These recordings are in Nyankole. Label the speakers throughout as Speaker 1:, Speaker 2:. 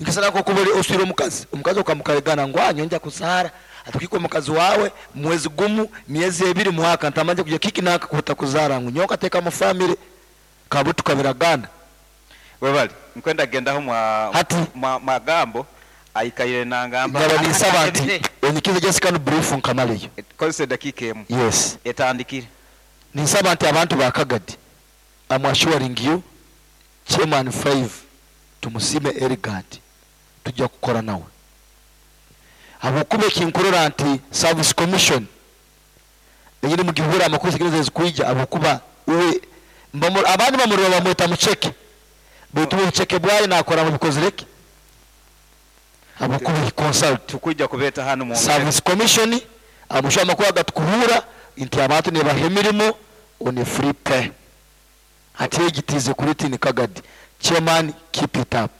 Speaker 1: Nkisana nk'okuba ori oswire omukazi, omukazi okamukaregana ngu nyowe nja kuzaara, hati okihika omukazi waawe mwezi gumu, myezi ebiri, mwaka ntamanya kugira kiki nanka kuhuta kuzaara ngu nyowe nkateekamu family kabu tukabiragaana.
Speaker 2: Webale. Nkwenda kugendaho mwa
Speaker 1: Hati.
Speaker 2: mwa magambo aikaire nangamba.
Speaker 1: Nyaba ninsaba nti onyikize just kanu brief nkamaleyo.
Speaker 2: Kozesa edakiika emu.
Speaker 1: Yes.
Speaker 2: Etandikire.
Speaker 1: Ninsaba nti abantu ba Kagadi am assuring you Chairman Five Tumusiime Eligard tujja kukora nawe habwokuba ekinkurora nti Service Commission enyine mugihuura amakuru zigenda ezikwija habwokuba uwe abandi bamurora bamweta muceke baitu uwe obuceke bwayo nakora bubikozire ki habwokuba he consult
Speaker 2: Tukwija kubeeta hanu mwongere.
Speaker 1: Service Commission amushu amakuru agatukuhuura nti abantu nebaha emirimo on a free pay. Hati egi tiize kuri ti ni Kagadi. Chairman keep it up.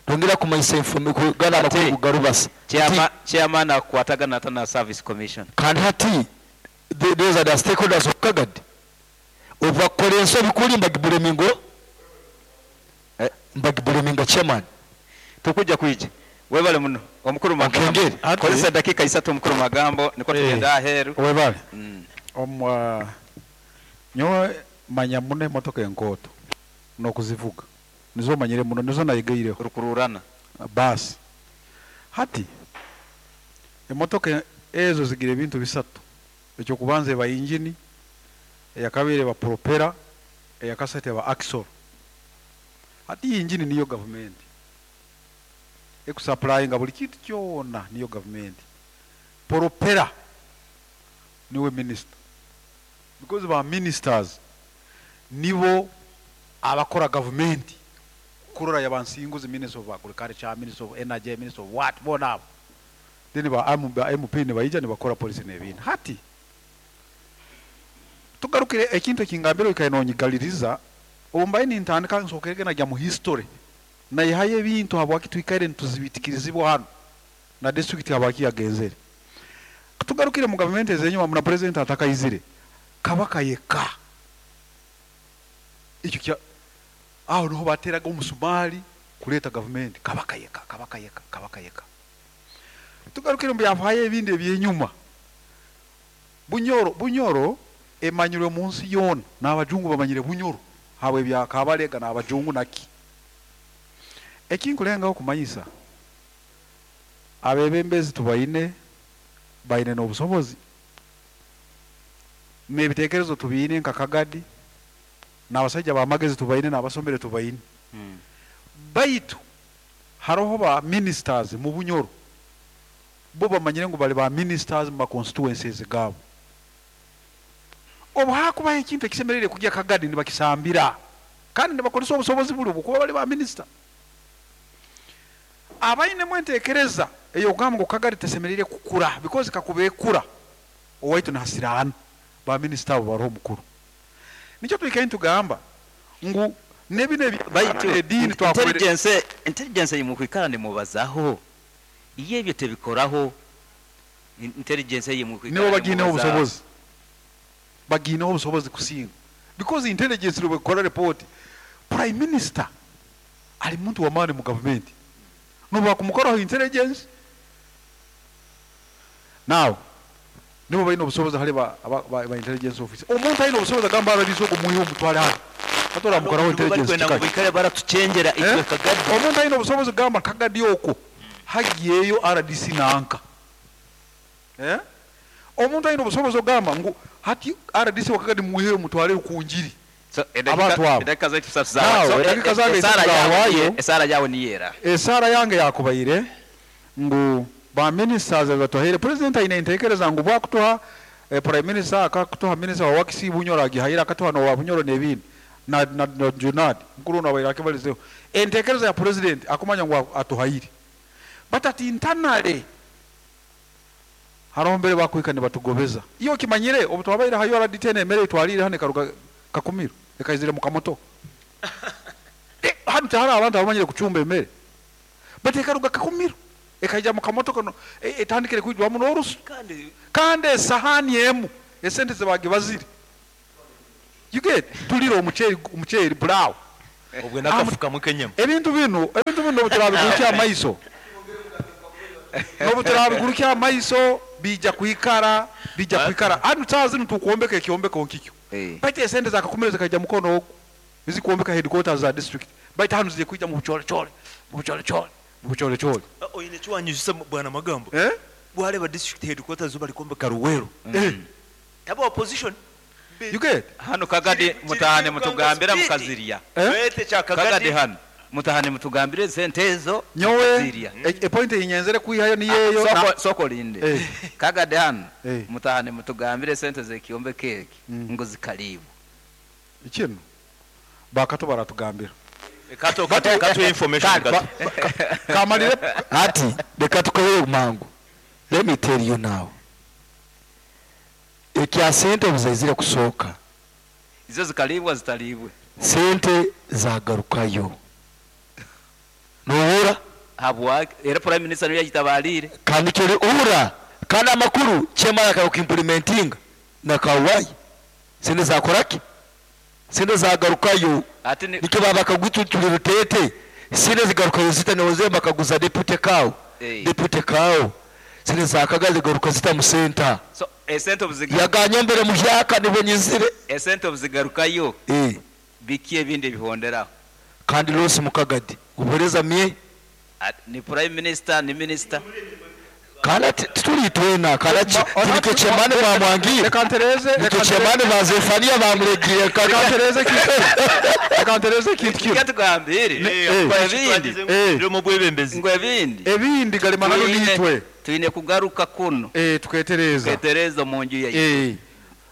Speaker 1: Nongera kumanyisa informe kugana amakuru
Speaker 2: Hati
Speaker 1: gu garubasa nti.
Speaker 2: Chairman akukwatagana ata na Service Commission?
Speaker 1: Kandi hati those are the stakeholders of Kagadi. Obu bakukora ensobi kuri mbagibureminga o mbagibureminga chairman.
Speaker 2: Tukwija kwija. Webale muno omukuru Magambo.
Speaker 1: Onkengere.
Speaker 3: Hati.
Speaker 2: Kozesa edakiika isatu omukuru Magambo nikwo tugende aheeru.
Speaker 3: Webale. Omu Nyowe manya muno emotoka enkooto n'okuzivuga. Nizo manyire muno, nizo nayegeireho.
Speaker 2: Rukururana.
Speaker 3: Baasi. Hati, emotoka ezo zigira ebintu bisatu. Eky'okubanza eba ingini, eyakabiri eba propeller, eyakasatu eba axle. Hati ingini niyo gavumenti ekusapurayinga buri kintu kyona niyo gavumenti. Propeller niwe minisita. Because ba ministers nibo abakora gavumenti kurora yaba Nsinguzi minister of agriculture, minister of energy, minister of what boona abo then ba ba MP nibaija nibakora policy nebindi. Hati tugarukire ekintu ekingambire oikaire nonyigaririza obu mbaire nintandika nsokerege nagya mu history nayihayo ebintu habwaki twikaire nituzibitikirizibwa hanu na district habwaki yagenzere. Tugarukire mu gavumenti ezenyuma na president atakaizire, Kabaka yeka ekyo kya aho niho bateraga omusumari kureta gavumenti, Kabaka yeka, Kabaka yeka, Kabaka yeka. Tugarukire omu byafaayo ebindi ebyenyuma, Bunyoro, Bunyoro emanyirwe omu nsi yoona, n'abajungu bamanyire Bunyoro habw'ebya Kabalega n'abajungu naki. Ekinkulengaho kumanyisa, Abebembezi tubaine, baine n'obusobozi n'ebitekerezo tubiine nka Kagadi, n'abasaija b'amagezi tubaine n'abasomere tubaine. Baitu haroho ba ministers mu Bunyoro, bo bamanyire ngu bali ba ministers mu ma constituencies gaabo. Obu hakubaho ekintu ekisemeriire kugya Kagadi nibakisambira kandi nibakozesa obusobozi buli obw'okuba bali ba minister. Abainemu entekereza ey'okugamba ngu Kagari tesemeriire kukura because kakuba ekura owaitu nahasiraana, ba minisita abo baroho mukuru. Nikyo twikaire nitugamba ngu nebinu ebya
Speaker 2: Baitu
Speaker 3: ediini twakubaire.
Speaker 2: Intelligence intelligence eyimukwikara nimubazaho iyo ebyo tebikoraho intelligence
Speaker 3: Nibo
Speaker 2: eyimukwikara
Speaker 3: bagiineho
Speaker 2: nimubazaho.
Speaker 3: obusobozi, bagiineho obusobozi kusinga because intelligence nobu ekukora report, prime minister ari muntu w'amaani mu gavumenti n'obu bakumukoraho intelligence now nibo baine obusobozi hali ba, ba, ba, ba intelligence officer. Omuntu aine obusobozi agamba RDC ogu mwihe omutware hanu hati oramukoraho
Speaker 2: Nibo
Speaker 3: intelligence
Speaker 2: barikwenda ngu
Speaker 3: kikahi?
Speaker 2: baikare baratuchengyera itwe
Speaker 3: Eh?
Speaker 2: Kagadi.
Speaker 3: Omuntu aine obusobozi kugamba Kagadi okwo hagyeyo RDC nanka. Eh? Omuntu aine obusobozi okugamba ngu hati RDC wa Kagadi mwiheyo mutware Rukungiri.
Speaker 2: So
Speaker 3: Abantu abo.
Speaker 2: edakika zaitu isatu
Speaker 3: Now,
Speaker 2: zawayo. So
Speaker 3: edakika zange
Speaker 2: esaara
Speaker 3: isatu
Speaker 2: yawe
Speaker 3: zahwayo.
Speaker 2: niye esaara yawe niyo era.
Speaker 3: Esaara yange yakubaire ngu ba ministers abatuhaire, president aine entekereza ngu bwakutuha prime minister akakutuha minister wa works Bunyoro agihaire akatuha nowa Bunyoro nebindi na, na, na Junad mukuru onu abaire akibalizeho. Entekereza ya president akumanya ngu atuhaire but ati internally Haroho mbere bakuhika nibatugobeza. Iwe okimanyire obu twabaire ha URDT enu emere ei twaliire hanu ekaruga Kakumiro ekaizire mu kamotoka. Hanu tihariho abantu abamanyire kucumba emere. Baitu ekaruga Kakumiro ekaija mu kamotoka no etandikire kwijwamu n'orusu. Kandi esahani emu esente zibagibazire. You get? Tulire omuceeri omuceeri pulaawu.
Speaker 4: Obwe n'akafukamu k'enyama.
Speaker 3: Ebintu binu, ebintu binu n'obu turabigurukya amaiso, n'obu turabigurukya amaiso, biija kwikara, biija kwikara. Hanu saaha zinu tukwombeka ekyombeko nkikyo. Baitu esente zakakumire zikaija mukono ogu, ezikwombeka headquarters za district. Baitu hanu ziri kwija mu bucorecore, mu bucorecore, mu bucorecore.
Speaker 4: Oine eki wanyijusya Bwana Magambo?
Speaker 3: Eh?
Speaker 4: Wareeba district headquarters zo barikwombeka Luweero.
Speaker 3: Eh.
Speaker 4: Taba opposition.
Speaker 3: You get?
Speaker 2: Hanu Kagadi mutahane mutugambira mukazirya.
Speaker 3: Eh?
Speaker 4: Baitu ekya
Speaker 2: Kagadi
Speaker 4: Kagadi
Speaker 2: hanu mutahane mutugambire esente ezo
Speaker 3: Nyowe
Speaker 2: mukazirya.
Speaker 3: e point ei nyenzere kwihayo niyo eyo na
Speaker 2: Soko soko olinde.
Speaker 3: Eh.
Speaker 2: Kagadi hanu
Speaker 3: Eh.
Speaker 2: mutahane mutugambire esente z'ekyombeko eki ngu zikariibwa.
Speaker 3: Kinu bakato baratugambira.
Speaker 4: Kato kato katuhe information gato.
Speaker 3: Kamalire
Speaker 1: Hati reka tukohere mangu. Let me tell you now. Ekya sente obuzaizire kusooka.
Speaker 2: Izo zikariibwa zitariibwe.
Speaker 1: Sente zagarukayo. Nohura?
Speaker 2: Habwaki? Era Prime Minister niwe yagitabariire.
Speaker 1: Kandi kyori uhura kandi amakuru chairman akakuimplementinga na kawai. Sente zakoraki? Sente zagarukayo.
Speaker 2: Ati ni
Speaker 1: Nikyo baba bakagututulira rutete. Sente zigarukayo zita noze bakaguza deputy kawo.
Speaker 2: Eh.
Speaker 1: Deputy kawo. Sente zakaga zigaruka zita mu center.
Speaker 2: So esente obuzigaruka
Speaker 1: Yaganye mbere muhyaka nibwo nyizire.
Speaker 2: esente obuzigarukayo
Speaker 1: Eh.
Speaker 2: biki ebindi ebihonderaho?
Speaker 1: Kandi Rose Mukagadi ubuhereza mye
Speaker 2: Ati ni Prime Minister ni Minister.
Speaker 1: kandi ati tituri twena kandi ati turi chemane bamwangiye
Speaker 3: Reka ntereze,
Speaker 1: nitwe
Speaker 3: reka
Speaker 1: chemane ba Zefania bamuregiye
Speaker 3: reka ntereze ekintu reka ntereze ekintu kinu.
Speaker 2: Reka tugambire.
Speaker 3: Eh.
Speaker 2: Ngo ebindi
Speaker 3: Eh.
Speaker 4: Biri omu bwebembezi.
Speaker 2: ngo ebindi
Speaker 3: Ebindi galimana
Speaker 2: Twine-
Speaker 3: nitwe.
Speaker 2: twine kugaruka kuno
Speaker 3: Eh tuketereza.
Speaker 2: twetereza omu nju yaitu.
Speaker 3: Eh.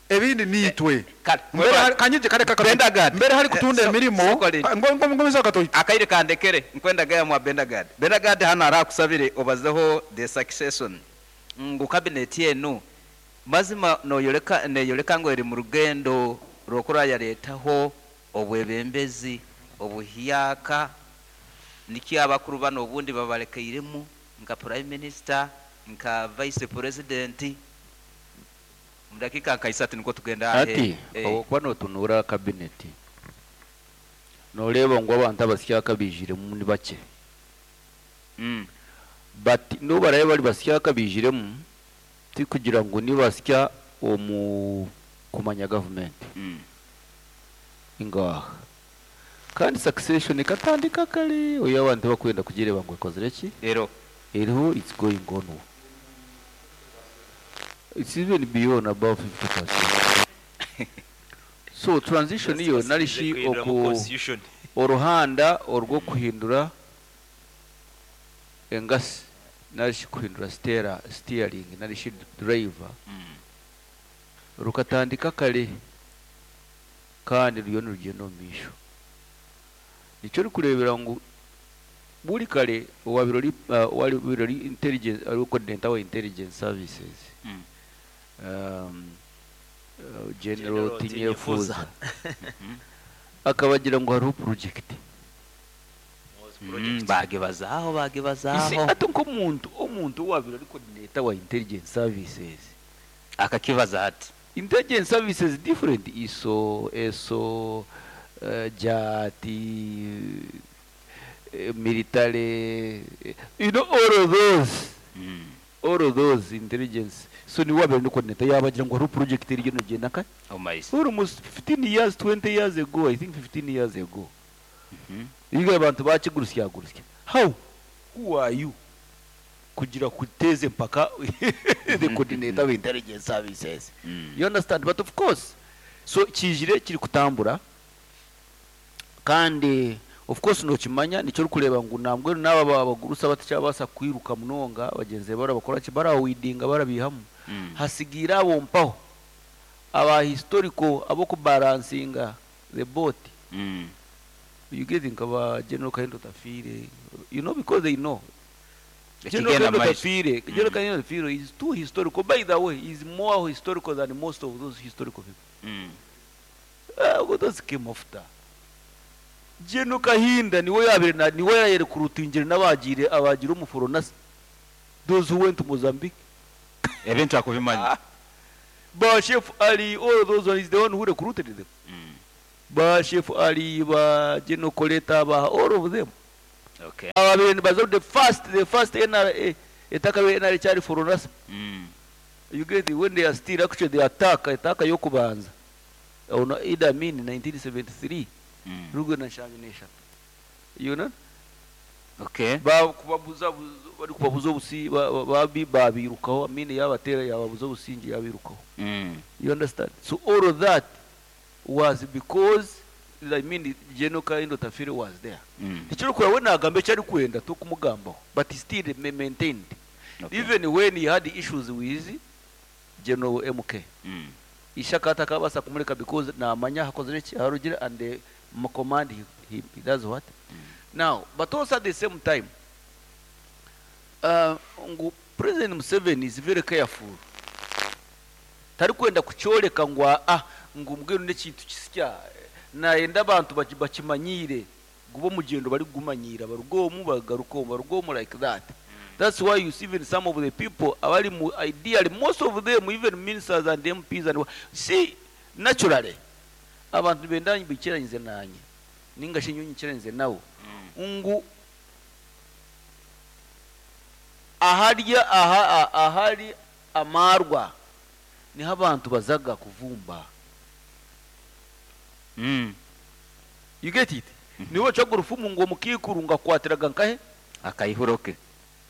Speaker 3: Ebindi nitwe.
Speaker 2: Kale,
Speaker 3: Mbere hari kanyije kare kaka.
Speaker 2: Bendagad.
Speaker 3: Mbere hari kutunda
Speaker 2: Eh, so-
Speaker 3: emirimo.
Speaker 2: soko lindi.
Speaker 3: Ngo ngo ngo katoyi.
Speaker 2: Akaire kandekere nkwenda gaya mwa Bendagad. Bendagad hano arakusabire obazeho the succession ngu cabinet enu mazima noyoreka neyoreka ngu eri mu rugendo rw'okura yaretaho obwebembezi obuhyaka nikyo abakuru bano obundi babarekeiremu nka Prime Minister nka Vice President mu dakika nka isatu niko tugenda
Speaker 5: Ati
Speaker 2: eh,
Speaker 5: okuba notunura cabinet noreeba ngu abantu abasyaka baijiremu ni bakye. But n'obu baraabe bari basyaka baijiremu tikugira ngu nibasya omu kumanya gavumenti. Ingaha. Kandi succession ekatandika kare oyo abantu bakwenda kugireeba ngu ekozire ki?
Speaker 2: Ero.
Speaker 5: Eriho it's going on. It's even beyond above 50%. So transition iyo narishi oku
Speaker 4: Constitution.
Speaker 5: oruhanda orw'okuhindura engasi narishi kuhindura stera steering narishi driver rukatandika kare kandi ruriyo nirugenda omu maisho. Nikyo orikureebera ngu buri kare owabaire ori owabaire ori intelligence ari coordinator wa intelligence services General
Speaker 4: General
Speaker 5: Tinyefuza
Speaker 4: Tinyefuza.
Speaker 5: akabagira ngu hariho project.
Speaker 2: Bagibazaho
Speaker 5: Isi
Speaker 2: bagibazaho
Speaker 5: ati nk'omuntu omuntu owabaire ari coordinator wa intelligence services
Speaker 2: akakibaza ati
Speaker 5: intelligence services different ISO, ESO, JATI, military, you know all of those. All of those intelligence. So ni wabaire ni coordinator yabagira ngu hariho project eriyo negyenda nka
Speaker 2: omaiso.
Speaker 5: Almost 15 years, 20 years ago, I think 15 years ago. Ibiga abantu bakigurusya gurusya. How? Who are you? Kugira kuteze mpaka the coordinator of intelligence services. You understand? But of course, so kijire kiri kutambura kandi of course nokimanya nikyo orikureba ngu nambwenu n'aba abagurusa batakyabasa kwiruka munonga bagenzi bara bakora ki barawidinga barabihamu. Hasigiire abo mpaho aba historical abokubalansinga the boat. You get nka General Kahinda Otafiire, you know, because they know General
Speaker 2: Ekigenda
Speaker 5: Kahinda
Speaker 2: maiso.
Speaker 5: Otafiire, General Kahinda Otafiire is too historical. By the way, he's more historical than most of those historical people. Those came after. General Kahinda niwe yabire na niwe yayerekrutingire n'abagire abagira umuforonasi. Those who went to Mozambique.
Speaker 2: Ebintu akubimanya.
Speaker 5: Ba Chef Ali, all those ones, is the one who recruited them. Ba Chef Ali, ba General Koleta, ba all of them.
Speaker 2: Okay.
Speaker 5: Ababaire nibaza the first, the first NRA, etakabaire NRA ekyari Fronasa. You get it? When they are still actually the attack, attack y'okubanza. On Idi Amin 1973, rugwe na nshanju n'eshatu. You know?
Speaker 2: Okay.
Speaker 5: Ba kubabuza bari kubabuza obusi ba- ba- babi babirukaho Amin yabatera yababuza obusingi yabirukaho. You understand? So all of that was because I mean General Kahinda Otafiire was there. Tikirikura we nagamba eki arikwenda tokumugambaho but he still maintained.
Speaker 2: Okay.
Speaker 5: Even when he had issues with General MK. Ishaka atakabaasa kumureka because namanya hakozire ki aharugire and the command he does what? Now, but also at the same time, ngu President Museveni is very careful. Tarikwenda kucyoreka ngu ngu mbwenu n'ekintu kisya nayenda abantu bakimanyire guba omugyendo barikugumanyiira baruga omu bagaruka omu baruga omu like that. That's why you see even some of the people abari mu ideally most of them even ministers and MPs and see naturally abantu benda bikiranyize nanye ninga shi nyonyi kiranyize nawo ngu aharya aha ahari amarwa niho abantu bazaga kuvumba. You get it? Niwe bacaga urufumu ngo mukikuru ngakwatiraga nkahe
Speaker 2: Akaihuroke.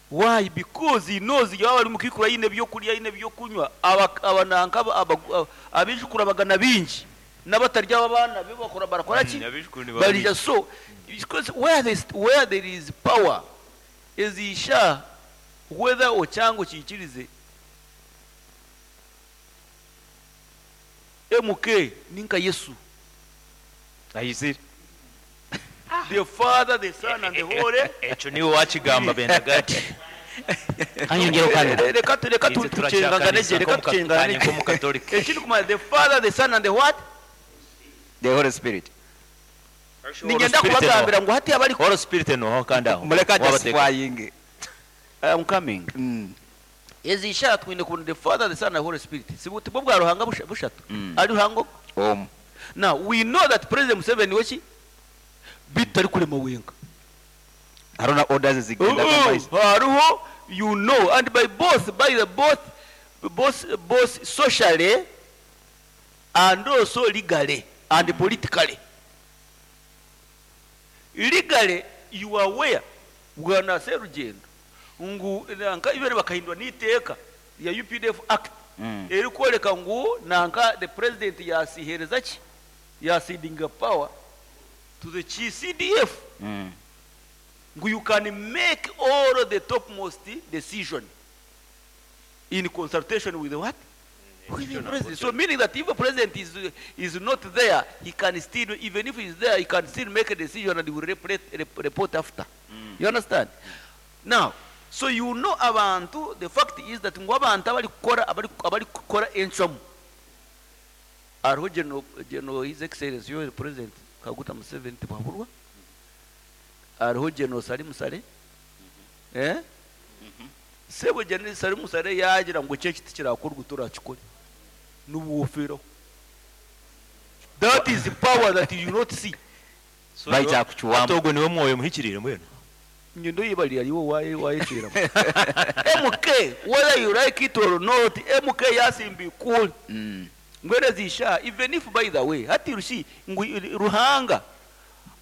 Speaker 5: Why? Because he knows yaba ari mukikuru ayine byo kurya ayine byo kunywa abananka abijukura bagana bingi n'abatarya abana be bakora barakora ki?
Speaker 4: Abijukuru ni
Speaker 5: Barija. So because where there is power is isha whether ochango chikirize MK ninka Yesu
Speaker 2: Ayizire.
Speaker 5: The Father, the Son and the Holy.
Speaker 4: Ekyo niwe wakigamba Bendagati.
Speaker 1: Kanyongera okano.
Speaker 5: Reka reka
Speaker 4: Itwe
Speaker 5: tucenganganege, reka tucenganganege.
Speaker 4: nk'omukatolika.
Speaker 5: Ekindi kumanya the Father, the Son and the what?
Speaker 2: The Holy Spirit.
Speaker 5: Nigenda kubagambira ngu hati abari
Speaker 4: Holy Spirit no kandi aho.
Speaker 2: Muleka
Speaker 4: Wabateka.
Speaker 2: justifying.
Speaker 5: I am coming. Ezi ishara twine kubona the Father, the Son and the Holy Spirit. Si buti bwo bwa Ruhanga bushatu. Ari Ruhango. Now we know that President Museveni weki bitari kurema wenga.
Speaker 2: Haruna orders zigenda
Speaker 5: Oh, hariho you know and by both by the both both both socially and also legally and politically. Legally you are aware bwana Serugendo ngu nanka ibere bakahindwa n'iteeka ya UPDF Act eri kworeka ngu nanka the president yasihereza ki yasidinga power to the CDF. Ngu you can make all the topmost decision in consultation with what? With the president. So meaning that if the president is not there, he can still, even if he's there, he can still make a decision and he will report after. You understand? Now, so you know abantu, the fact is that ngu abantu abari kukora, abari, abari kukora enchomu. Ariho General His Excellency, your President Kaguta Museveni Tibuhaburwa. Ariho General Salim Saleh. Sebo General Salim Saleh yagira ngo cyo kiti kirakorwa turakikore. N'ubuwofero. That is the power that you not see.
Speaker 4: So
Speaker 2: Baija kuchuwamu.
Speaker 4: Atogo niwe mwoyo muhikirire mwene.
Speaker 5: Nyundo yibali aliwo waye waye chira. MK whether you like it or not, MK yasimbi cool. Ngwere zisha even if by the way hati rushi ngu Ruhanga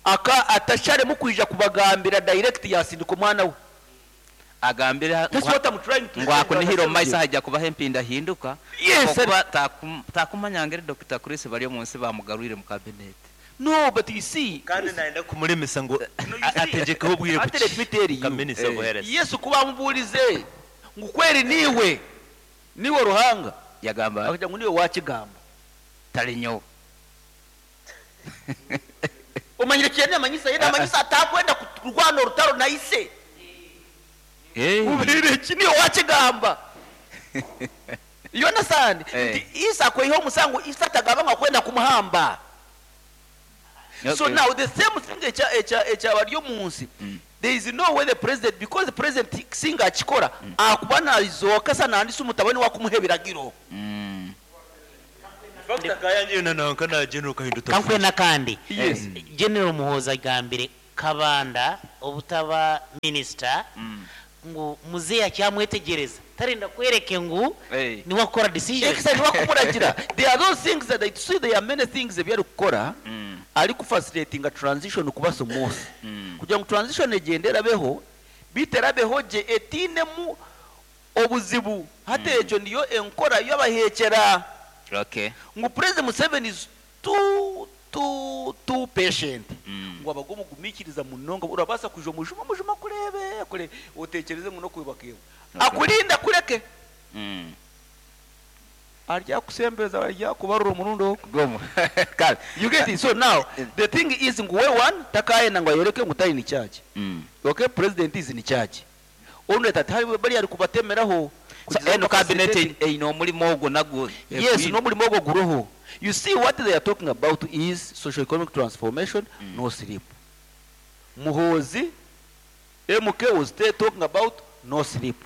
Speaker 5: aka atashare mukwija kubagambira direct yasindika omwana we.
Speaker 2: Agambira
Speaker 5: That's what I'm trying to
Speaker 2: ngo
Speaker 5: say.
Speaker 2: akunihira omu maiso hajja kubaho empinda hinduka.
Speaker 5: Yes,
Speaker 2: Okuba takumanya ngeri Dr. Chris bari omu nsi bamugarwire mu cabinet.
Speaker 5: No, but you see,
Speaker 4: Kandi naenda kumulemesa ngo
Speaker 5: No, you see,
Speaker 4: ategekeho obwire
Speaker 5: ate let me tell you.
Speaker 4: Kaminisa obuhereza.
Speaker 5: Yesu kuba amubuulize ngu kweri niwe niwe Ruhanga
Speaker 2: Yagamba
Speaker 5: akagira ngu niwe wakigamba
Speaker 2: tali nyowe.
Speaker 5: Omanyire kyene amanyisa yena amanyisa atakwenda kurwana orutaro na ise. Ubire ki niwe wakigamba. You understand? Nti Isa akweyiha omusango Isa atagamba ngu akwenda kumuhamba. So now the same thing echa bari omu nsi. There is no way the president, because the president singa akikora, akuba naizooka sa nandisa umutabani wakumuha ebiragiro.
Speaker 4: Fact akayangire na nanka na General Kahinda
Speaker 6: Kankuhe
Speaker 4: Otafiire.
Speaker 6: n'akandi.
Speaker 5: Yes.
Speaker 6: General Muhoozi agambire Kabanda obutaba minisita ngu muzeeyi akyamwetegyereza tarenda kwereke ngu
Speaker 2: Hey.
Speaker 6: niwe akukora decision.
Speaker 5: Exactly, wakumuragira. There are those things that I see, there are many things ebi arikukora arikufacilitatinga transition kuba smooth kugira ngu transition egyende erabeho beitu erabeho gye etiinemu obuzibu. Hati ekyo niyo enkora y'abaheekyera.
Speaker 2: Okay.
Speaker 5: Ngu President Museveni is too too too patient ngu abaga omugumiikiriza munonga. Orabaasa kwija omujuma omujuma akureebe akureebe oteekyereze ngu n'okwebaka ewe.
Speaker 2: Okay.
Speaker 5: Akurinde akureke. Aryakusembeza aryakubarura omurundi ogwo.
Speaker 2: Gomu. Kale.
Speaker 5: You get it? So now the thing is ngu we one takaayenda ngu ayoreke ngu tari in charge. Okay, president is in charge. Onu ati hariho bariya arikubatemeraho.
Speaker 2: So eno cabinet eine omurimo ogwo nagwo.
Speaker 5: Yes, n'omurimo ogwo guroho. You see, what they are talking about is socio-economic transformation, no sleep. Muhoozi, MK was still talking about no sleep.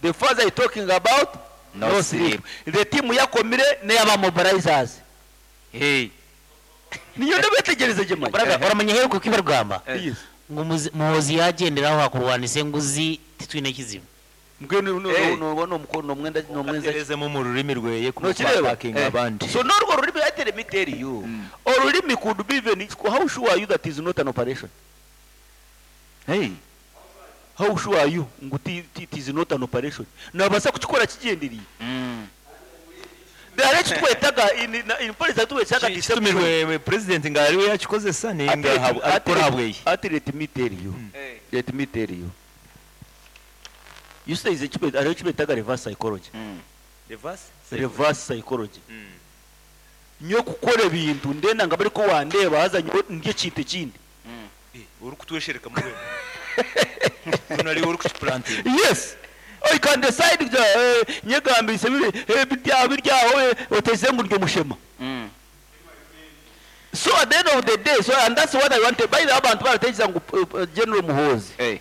Speaker 5: The father is talking about
Speaker 2: No
Speaker 5: no
Speaker 2: sleep.
Speaker 5: sleep. The team yakomire n'eyaba mobilizers.
Speaker 2: Hey.
Speaker 5: Niyo ndabetegereze gye manya.
Speaker 6: Brother, oramanya heruka ku barugamba
Speaker 5: Yes.
Speaker 6: ngu Muhoozi yagyenderaho hakurwanisa enguzi titwine kizibu.
Speaker 5: Mbwenu no
Speaker 2: Hey.
Speaker 5: no no no nomwenda nomwenza
Speaker 4: Aterezemu omu rurimi rweye
Speaker 5: Nokireba?
Speaker 4: kumupackinga abandi.
Speaker 5: So n'orwo rurimi, ati let me tell you. Orurimi could be even, how sure are you that is not an operation?
Speaker 2: Hey.
Speaker 5: How sure are you ngu it is not an operation? Nabasa kukikora kigyenderiire. There ekitwetaga in policy twetaga deception.
Speaker 4: Kitumirwe president nga ariwe yakikozesa nenga arikukora habweye.
Speaker 5: Ati let me tell you.
Speaker 2: Hey.
Speaker 5: Let me tell you. You say is hariho ekibetaga reverse psychology.
Speaker 4: Reverse?
Speaker 5: Reverse psychology. Nyowe kukora ebintu ndenda nga bariko wandeeba haza nyowe ndye ekintu ekindi.
Speaker 4: Orikutweshereka mu rwego. Tunari orikukiplantinga.
Speaker 5: Yes. Oh, you can decide nyegambise biri birya biryaho oteze ngu ndyo mushema. So at the end of the day, so and that's what I wanted. By the way, abantu baratekereza ngu General Muhoozi
Speaker 2: Hey.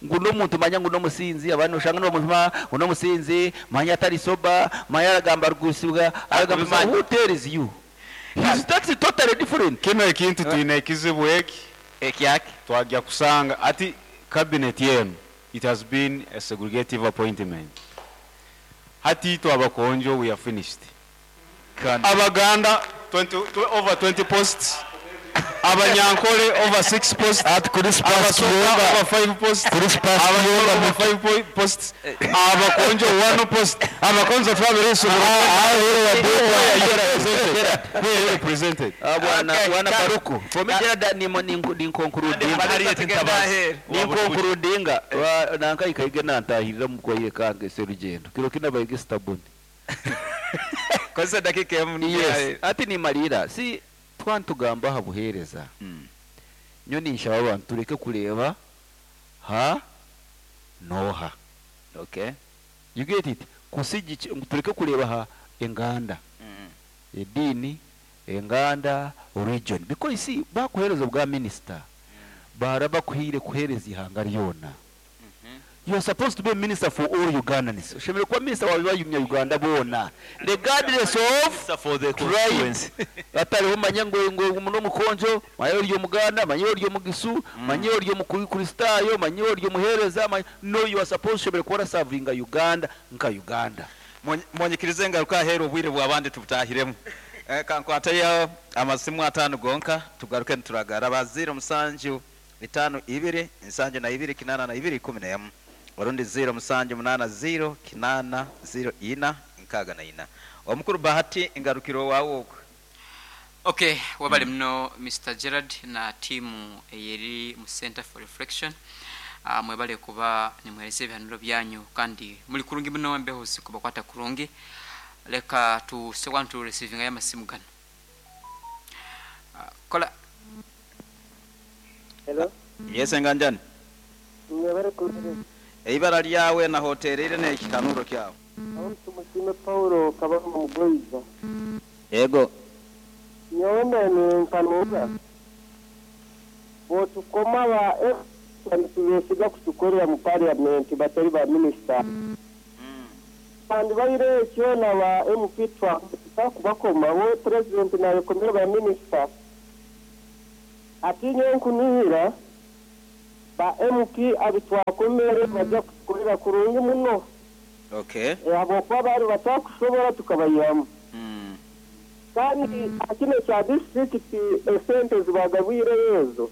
Speaker 5: ngu n'omuntu manya ngu n'omusinzi, abantu oshanga n'omuntu ngu n'omusinzi manya atari soba manya aragamba rugusibwa aragamba.
Speaker 2: Akubimanya.
Speaker 5: Who tells you? His that's totally different.
Speaker 7: Kino ekintu twine ekizibu eki.
Speaker 2: Ekyaki.
Speaker 7: Twajya kusanga ati cabinet yenu, it has been a segregative appointment. Hati itwe abakonjo, we are finished. Abaganda 20, over 20 posts, Abanyankole over 6 posts,
Speaker 1: Ati kuri Sparks
Speaker 7: Abasoga
Speaker 1: Kiyonga,
Speaker 7: over 5 posts,
Speaker 1: kuri Sparks
Speaker 7: Abanyoro
Speaker 1: Kiyonga
Speaker 7: over 5 posts, Abakonjo 1 post. Abakonjo twabiresobora. We represented.
Speaker 5: Bwana
Speaker 2: Okay,
Speaker 5: bwana
Speaker 2: Baruku.
Speaker 5: For me, Gerard, ni ni ni concludinga.
Speaker 4: Harriet Ntabazi.
Speaker 5: Ni concludinga nanka ikaige nantahirira mu kwaire kange serugendo kiro kina bayige stabuni.
Speaker 2: Kozesa dakika emu.
Speaker 5: Yes, ati nimalira si twantugamba aha buheereza. Nyo ninshaba abantu tureke kureeba ha noha.
Speaker 2: Okay.
Speaker 5: You get it? Kusigi tureke kureeba ha enganda, ediini, enganda, region, because you see bakuheereza obwa minister bara bakuhiire kuheereza ihanga ryona. You are supposed to be a minister for all Ugandans. Oshemereire kuba minister wa bayumya Uganda boona regardless of
Speaker 4: For the
Speaker 5: tribe.
Speaker 4: constituency.
Speaker 5: Atariho manya ngo ngo muno mukonjo manye ori omuganda manye ori omugisu manye ori omukristayo manye ori omuheereza no, you are supposed to kuba serving Uganda nka Uganda.
Speaker 2: Mwonyikirize ngaruka ahera obwire bw'abandi tubutahiremu. Kankwatayo amasimu 5 gonka tugaruke nituragara ba 0 7 5 2 7 2 8 2 11 orundi 0 7 8 0 8 0 4 64. Omukuru Bahati, ingarukiro wawe okwo.
Speaker 8: Okay, wabale muno Mr. Gerard na timu eyeri mu Center for Reflection. Mwebale kuba nimwereze ebihanuro byanyu kandi muri kurungi muno embeho zikubakwata kurungi. Leka tusekwa tu receiving aya masimu gano. Kola.
Speaker 9: Hello.
Speaker 2: Yes, enganjani.
Speaker 9: Mwebale kuhereza.
Speaker 2: Eibara lyawe na hoterire n'ekihanuro kyawe.
Speaker 9: Aho tumushime Paulo Kabaka Mugoiza.
Speaker 2: Yego.
Speaker 9: Nyowe nkanuza. Botukoma ba tubesiga kutukorera mu parliament batari ba minister. Kandi baire ekyo na ba MP twa Kubakoma we purezidenti nayekomera ba minisita ati nyowe nkunihira ba MP abitwakomere bajja kutukorera kurungi muno.
Speaker 2: Okay.
Speaker 9: Habwokuba baali batakusobora tukabayihamu. Kandi aha kinu ekya disiturikiti esente ezibagabwireyo ezo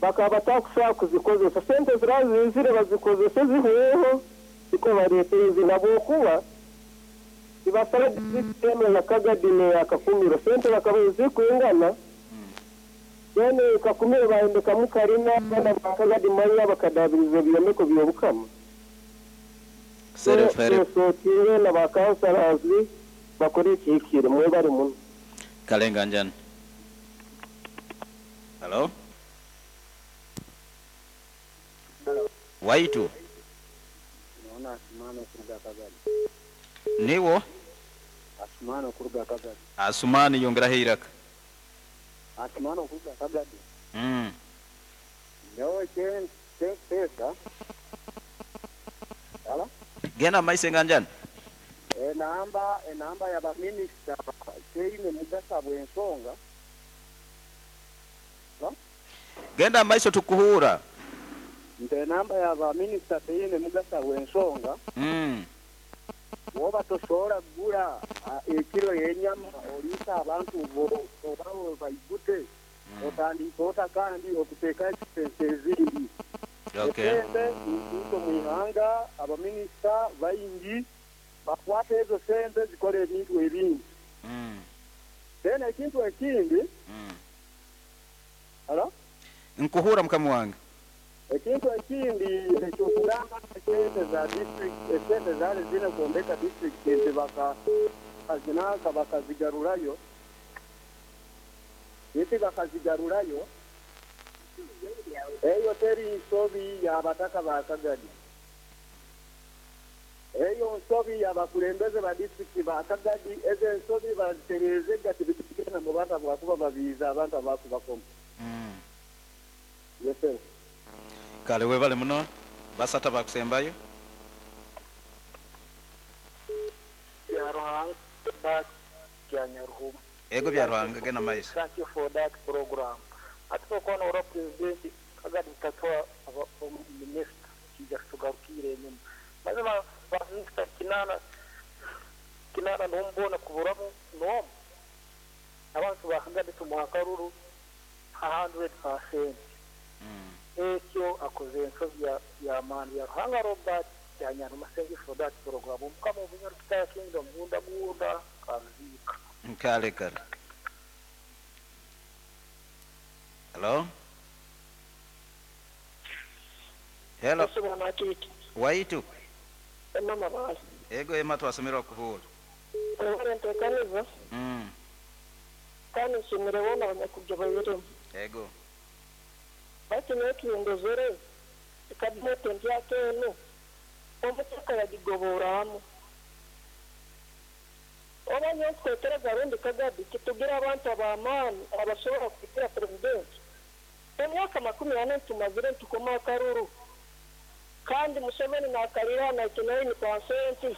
Speaker 9: bakaba batakusobora kuzikozesa. Sente ziraba ziizire bazikozese zihweho nikwo bareetere ezindi habwokuba nibasaba disiturikiti enu eya Kagadi n'eya Kakumiro sente bakaba ezikwingana then Kakumiro bayombekamu karina then aba Kagadi manya bakadaabiriza ebyombeko by'Obukama. So twesotinge na ba councillors bakore ekihikire. Mwebare muno.
Speaker 2: Kale Nganjani. Hello. Waitu.
Speaker 10: Nyowe Asumani okuruga Kagadi.
Speaker 2: Niiwe?
Speaker 10: Asumani okuruga Kagadi.
Speaker 2: Asumani yongeraho eiraka.
Speaker 10: Asumani okuruga Kagadi. Nyowe ekyenkuteesa. Hello?
Speaker 2: Genda omu maiso Nganjani.
Speaker 10: Enamba enamba ya baminisita teine mugaso habw'ensonga. Hello?
Speaker 2: Genda omu maiso tukuhuura.
Speaker 10: Nti enamba ya baminisita teine mugaso habw'ensonga. Woba tosobora kugura ekiro y'enyama oliisa abantu bo oba obaigute, otandika ota kandi okuteekaho expense ezindi? Esente niziija omu ihanga, abaminisita baingi bakwata ezo sente zikora ebintu ebindi. Then ekintu ekindi, Hello?
Speaker 2: Nkuhuura mukama wange.
Speaker 10: Ekintu ekindi eky'okugamba nti esente za district, esente ezaali ziine kwombeka district nti bakazinanka bakazigarurayo, nti bakazigarurayo, eyo teri nsobi ya bataka ba Kagadi. Eyo nsobi ya bakulembeze ba district ba Kagadi, ezo ensobi bazitereezega tibikugenda mu bantu ahabwakuba babiize abantu abakubakoma. Yes sir.
Speaker 2: Kale webale muno. Basatu abakusembayo.
Speaker 11: Byaruhanga Robert Byanyaruhuma.
Speaker 2: Ego Byaruhanga genda mumaiso.
Speaker 11: Thank you for that program. Hati nokuba norora president Kagame tatuha minister kija kitugarukire enyuma. Mazima ba minister kinana kinana nomu bona kuburamu nomu. Abantu ba Kagame tumuha akaruru 100%. Ekyo akoze ensobi ya maani Byaruhanga Robert Byanyanuma thank you for that program Omukama obunyoro Kitaya Kingdom gunda gunda karuziika.
Speaker 2: Kale kale. Hello. Hello.
Speaker 11: Yesu bwana akiiki.
Speaker 2: Waitu.
Speaker 11: Emma Mabale.
Speaker 2: Ego Emma twasemererwa kuhuura.
Speaker 11: Mwebale entekaniza. Kandi nsiimire boona abanyakugyoboiremu.
Speaker 2: Ego.
Speaker 11: Baitu nyowe ekindozere, ekabineeti empyaka enu, omutaka yagigoboramu. Oba nyowe nkutekereza rundi Kagadi titugira abantu ab'amaani abasobora kuhikira Purezidenti? Emyaka 40 ntumazire nitukoma akaruru kandi Museveni nakarira aha 99%.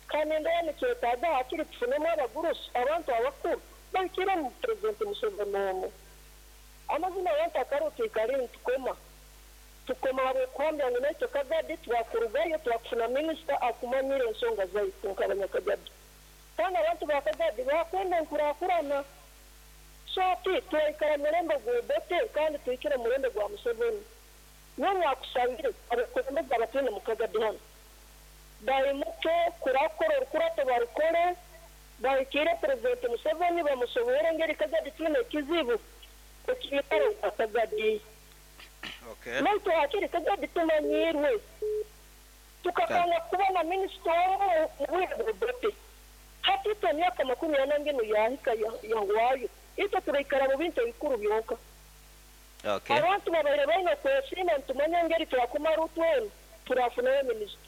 Speaker 11: Ka nindeeba nikyetaaga hakiri tufunemu abagurusi, abantu abakuru bahikire omu Purezidenti Museveni omu. Amazima abantu akaruru twikare nitukoma. Tukoma ahabw'okuhambya ngu naitwe Kagadi twakurugayo twakufuna minisita akumanyire ensonga zaitu nk'abanyakagadi. Kandi abantu ba Kagadi bakwenda enkurakurana. So hati twaikara murembe gwa Obote kandi tuhikire murembe gwa Museveni. Nyowe nakusabire abakulembeze abatwine mu Kagadi hanu baimuke kurakora orukurato barukore bahikiire Purezidenti Museveni bamusoboore engeri Kagadi twine ekizibu ekiikaro kya Kagadi. Naitwe hakiri Kagadi tumanyiirwe tukakanga kuba na minisita omu mu bwire bwa Obote. Hati itwe emyaka 40 nginu yahika yahwayo itwe turaikara mu bintu ebikuru byonka. Abantu babaire baine okwesiima nitumanya engeri twakumara utwena turafunayo minisita.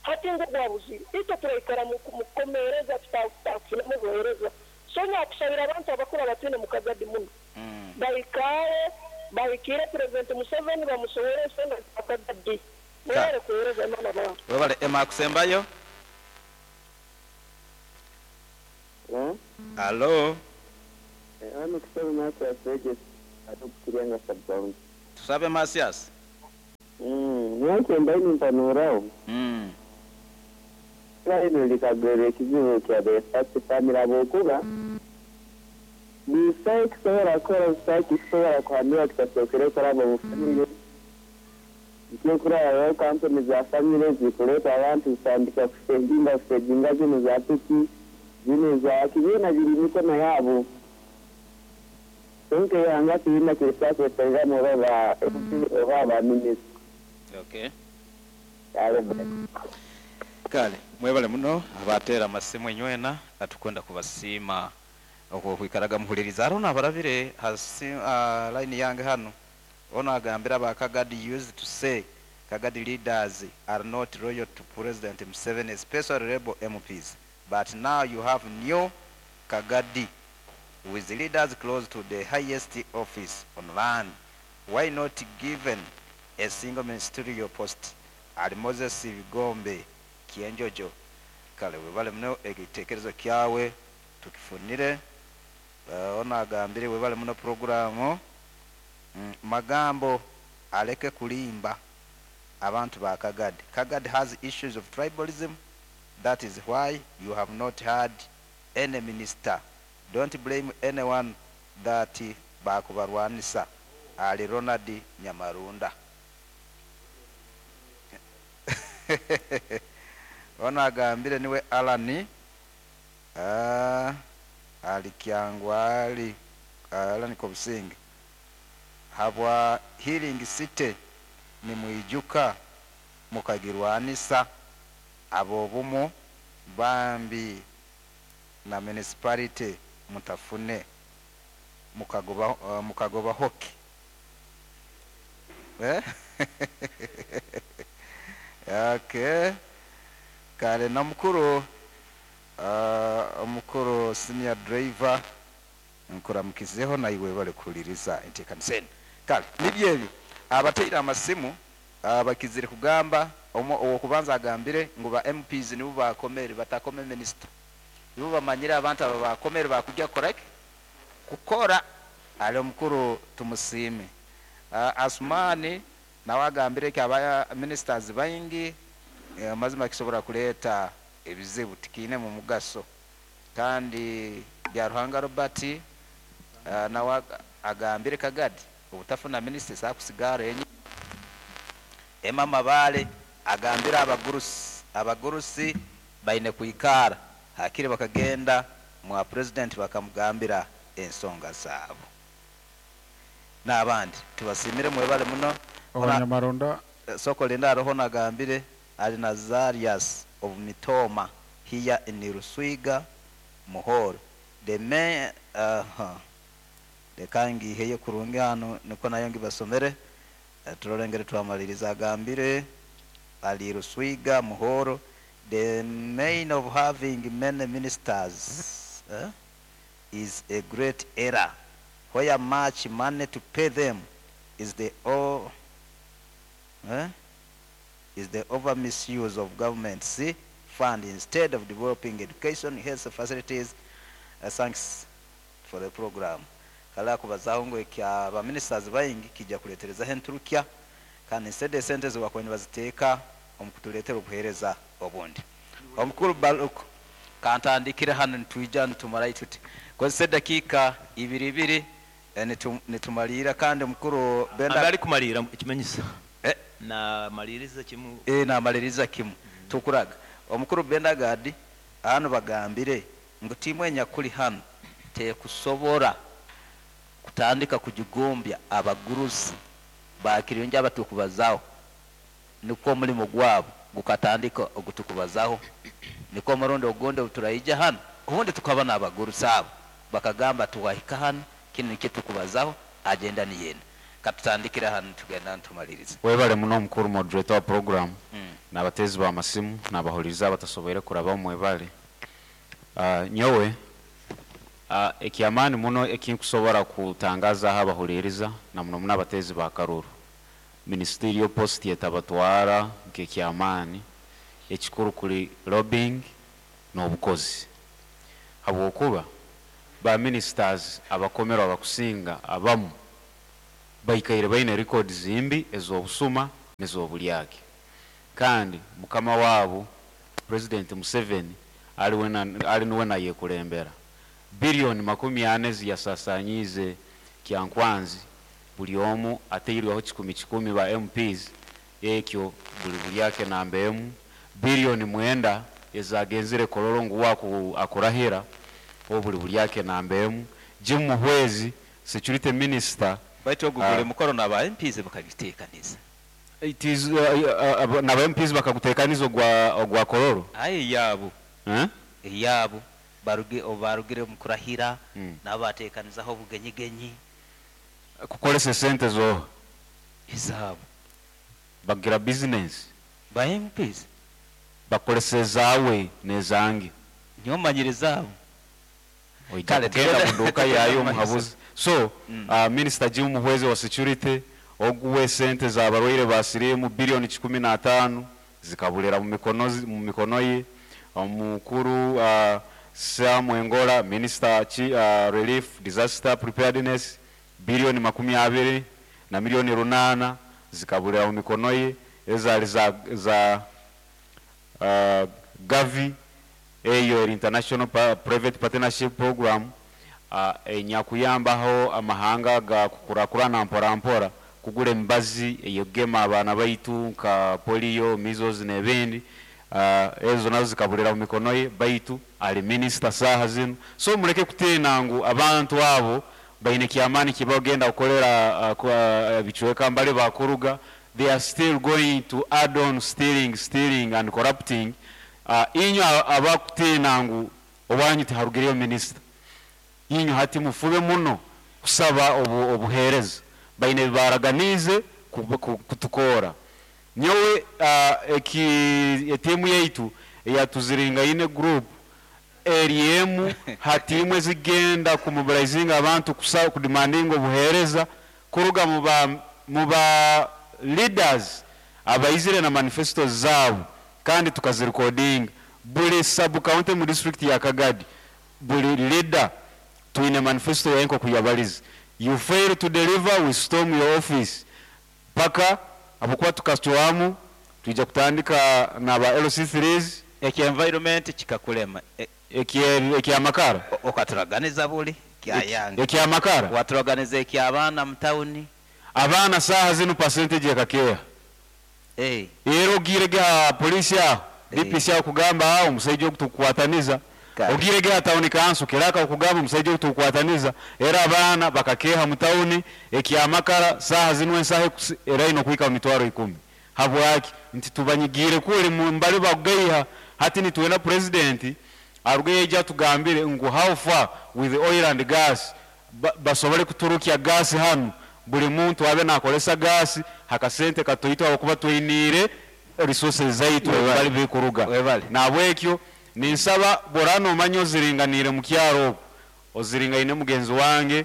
Speaker 11: Hati ngu gwabuzire itwe turaikara mu kukomeereza tutakufunamu obuheereza. So nyakusabira abantu abakuru abatwine mu Kagadi muno baikaare bahikiire Purezidenti Museveni bamusohore ensonga za Kagadi. Mwebale kuheereza Imana bantu.
Speaker 2: Webale Emma akusembayo. Alo.
Speaker 12: Hano Tusabe Mathias Regis ari oku Kirenga sub county.
Speaker 2: Tusabe Mathias.
Speaker 12: Nyowe ekyembaire nimpanuraho, ibara linu likagwerwa ekizibu kya the first family habwokuba busaho ekisobora kukora busaho ekisobora kuhanura kitasookere kuraba omu family. Ekyokurorraho kampuni za family zikuleeta abantu zitandika kusteginga kusteginga zinu za piki, zinu za ki byona biri mumikono yabo. Kwonka eihanga tihaine ekirisobola kwetereramu oba ba MP oba ba minisita.
Speaker 2: Okay.
Speaker 12: Kale.
Speaker 2: Kale mwebale muno abateera amasimu inywena tukwenda kubasiima okwokwikaraga muhuliriize. Haroho nabarabire ha ha line yange hanu onu agambire aba Kagadi used to say Kagadi leaders are not loyal to President Museveni especially rebel MPs but now you have new Kagadi with leaders close to the highest office on land why not given a single ministerial post Ali Moses Bigombe Kyenjojo Kale webale muno ekitekerezo kyawe tukifunire Onu agambire webale muno puroguramu Magambo aleke kulimba abantu ba Kagadi. Kagadi has issues of tribalism that is why you have not had any minister. Don't blame anyone that bakubarwanisa Ali Ronald Nyamarunda. Onu agambire niwe Allan Ali Kyangwali Allan Kobusinge habwa Healing City nimwijuka mukagirwanisa abobumu bambi na municipality mutafune mukagoba hoki okay kale na mukuru omukuru senior driver nkuramukizeho naiwe webale kuhuliriza enteekanisa enu. Kale nibyo ebyo abateire amasimu bakizire kugamba owokubanza agambire ngu ba MPs nibo bakomere batakome minisita nibo bamanyire abantu aba bakomere bakujja kukoraki kukora ali omukuru Tumusiime. Asumani nawe agambire ki aba ministers baingi amazima kisobora kureeta ebizibu tikiinemu mugaso kandi Byaruhanga Robert nawe agambire Kagadi obutafuna minisita esakusigara enyima. Emma Mabale agambire abagurusi abagurusi baine kwikara hakiri bakagenda mwa president bakamugambira ensonga zaabo n'abandi. Tubasiimire mwebale muno.
Speaker 3: Abanyamarunda.
Speaker 2: Soko Linda haroho nagambire ali Nazarius of Mitooma here in Ruswiga Muhoro the me aha leka ngiiheyo kurungi hanu nikwo nayo ngibasomere turole ngeri twamaliriza agambire ali Ruswiga Muhoro the main of having many ministers eh, is a great error where much money to pay them is the o eh, is the over misuse of government's fund instead of developing education health facilities uh, thanks for the program kale akubazaho ngu ekya ba ministers baingi kija kuleterezaho enturukya kandi instead esente ezibakuba nibaziteeka omu kutuleetera obuheereza obundi. Omukuru Baluku, kantandikire hanu nitwija nitumarayo tuti. Kozesa edakiika ibiri ibiri nitumaliira kandi omukuru Benda.
Speaker 4: Ambe arikumariira ekimanyisa naamariiriza kimu.
Speaker 2: Naamariiriza kimu. Tukuraga. Omukuru Bendagadi hanu bagambire ngu tiimu enyakuli hanu tekusobora kutandika kugigumbya abagurusi ba Kirungi abatukubazaho nikwo omulimo gwabo gukatandika ogutukubazaho nikwo omurundi ogundi obuturaija hanu obundi tukaba n'abagurusi abo bakagamba twahika hanu kinu nikyo tukubazaho agenda niyo enu. Katutandikire hanu nitugenda nitumaliriza.
Speaker 7: Webale muno mukuru moderator wa program nabateezi ba masimu nabahuliriza abatasoboire kurabamu mwebale. Nyowe ekyamaani muno ekinkusobora kutangazaho abahuliriza na muno muno abateezi ba karuru, ministerial post etabatwara nk'ekyamaani, ekikuru kuri lobbying n'obukozi. Habwokuba ba ministers abakomerwe abakusinga abamu baikaire baine records mbi ez'obusuma n'ezobulyake. Kandi mukama waabo President Museveni ali nuwe nayekulembera. Billion 40 ezi yasasanyiize Kyankwanzi buli omu ateirweho kikumi kikumi ba MPs ekyo buli bulyake namba emu. Billion 9 ezagenzire Kololo ngu uwe akurahira obu buli bulyake namba emu. Jim Muhwezi Security Minister.
Speaker 2: Baitu ogu guli mukoro naba MPs bakagiteekaniza.
Speaker 7: It is naba MPs bakaguteekaniza ogwa ogwa Kololo?
Speaker 2: Aye eyaabo.
Speaker 7: Eh?
Speaker 2: Eyaabo. Baruge obu baarugire omu kurahira nabo baateekanizaho obugenyigenyi.
Speaker 7: Kukoresa esente z'oha?
Speaker 2: Ezaabo.
Speaker 7: Bagira bizinensi?
Speaker 2: Ba MPs.
Speaker 7: Bakoresa ezaawe n'ezange.
Speaker 2: Nyowe manyire ezaabo.
Speaker 7: Oija
Speaker 2: Kale
Speaker 7: kugenda
Speaker 2: tugenda
Speaker 7: muduuka
Speaker 2: tugenda
Speaker 7: yaayo
Speaker 2: omu maiso.
Speaker 7: omuhabuzi. So, Minisita Jim Muhwezi owa Security, ogu we sente z'abarwaire ba siriimu billion 105 zikaburira mu mikono ye. Omukuru Sam Engola, Minisita Relief, Disaster Preparedness, billion 20 na million 8 zikaburira mu mikono ye. Ezaali za Gavi, eyo eri International Private Partnership Program enyakuyambaho amahanga aga kukurakurana mpora mpora kugura emibazi eyekugema abaana baitu nka polio, measles nebindi, ezo nazo zikaburira mu mikono ye baitu ali minisita saaha zinu. So mureke kutiina ngu abantu abo baine kyamaani kibagenda kukorera ebicweka mbali bakuruga, they are still going to add on stealing, stealing and corrupting. Inywe abakutiina ngu owanyu tiharugireyo minisita, inywe hati mufube muno kusaba obuheereza. Baine ebi baaraganiize kutukoora. Nyowe eki etiimu yaitu eya Tuziringaine Group eri emu ha tiimu ezikugenda kumobilizinga abantu kudimandinga obuheereza kuruga mu ba leaders abaizire na manifestos zaabo kandi tukazirikodinga. Buri sub county mu district ya Kagadi buri leader twine manifesto yaye nkoku yabarize. You fail to deliver we storm your office paka ahabwokuba tukacwamu twija kutandika na ba LC threes.
Speaker 2: Ekya environment kikakulema.
Speaker 7: Ekyamakara.
Speaker 2: Okaturaganiza buri kyayanga.
Speaker 7: Ekyamakara.
Speaker 2: Waturaganiza ekyabaana mu tawuni.
Speaker 7: Abaana saaha zinu percentage ekakeeha. Reero ogiire ge aha police aho, DPC akugamba haa omusaija ogu tukukwataniza. Ogiire ge aha town council clerk akugamba omusaija ogu tukukwataniza. Reero abaana bakakeeha mu tawuni, ekyamakara saaha zinu ensaho eraine okuhika mu mitwaro ikumi. Habwaki? Nti tubanyigiire kuri mbari bakugaiha, hati nitwenda Purezidenti aruge yaija atugambire ngu how far with oil and gas, basobole kuturukya gas hanu, buri muntu abe nakoresa gas hakasente katoito ahabw'okuba twiniire resources zaitu mbari bikuruga. Nahabwekyo ninsaba bworaba nomanya oziringaniire mukyaro okwo, oziringaine mugenzi wange,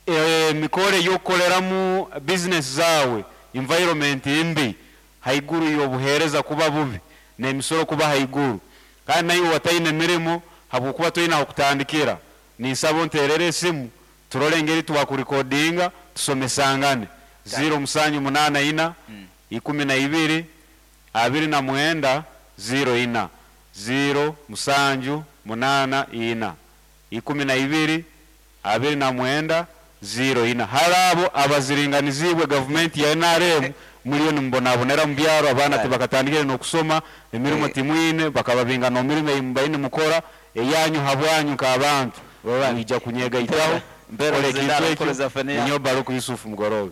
Speaker 7: Emikoro ey'okukoreramu bizinesi zaawe, environment mbi haiguru y'obuheereza kuba bubi n'emisoro kuba haiguru. Kandi naiwe wataine mirimo habwokuba toine ah'okutandikira, ninsaba onteerere esimu turole engeri twakurikodinga tusomesangane. Ziiro musanju munaana ina, 12, 29, 04. Ziiro musanju munaana ina, 12, 29, 04 Hali abo abaziringaniziibwe gavumenti ya nrm, muriyo nimubonabonera omu byaro, abaana tibakatandikire n'okusoma, emirimo timwine, bakababinga n'omu mirimo ei mubaire nimukora, eyanyu habwanyu nk'abantu. Mwija kunyegaitaho kukora ekintu ekyo. Ninyowe Baruku Yusuf Mugoroobe.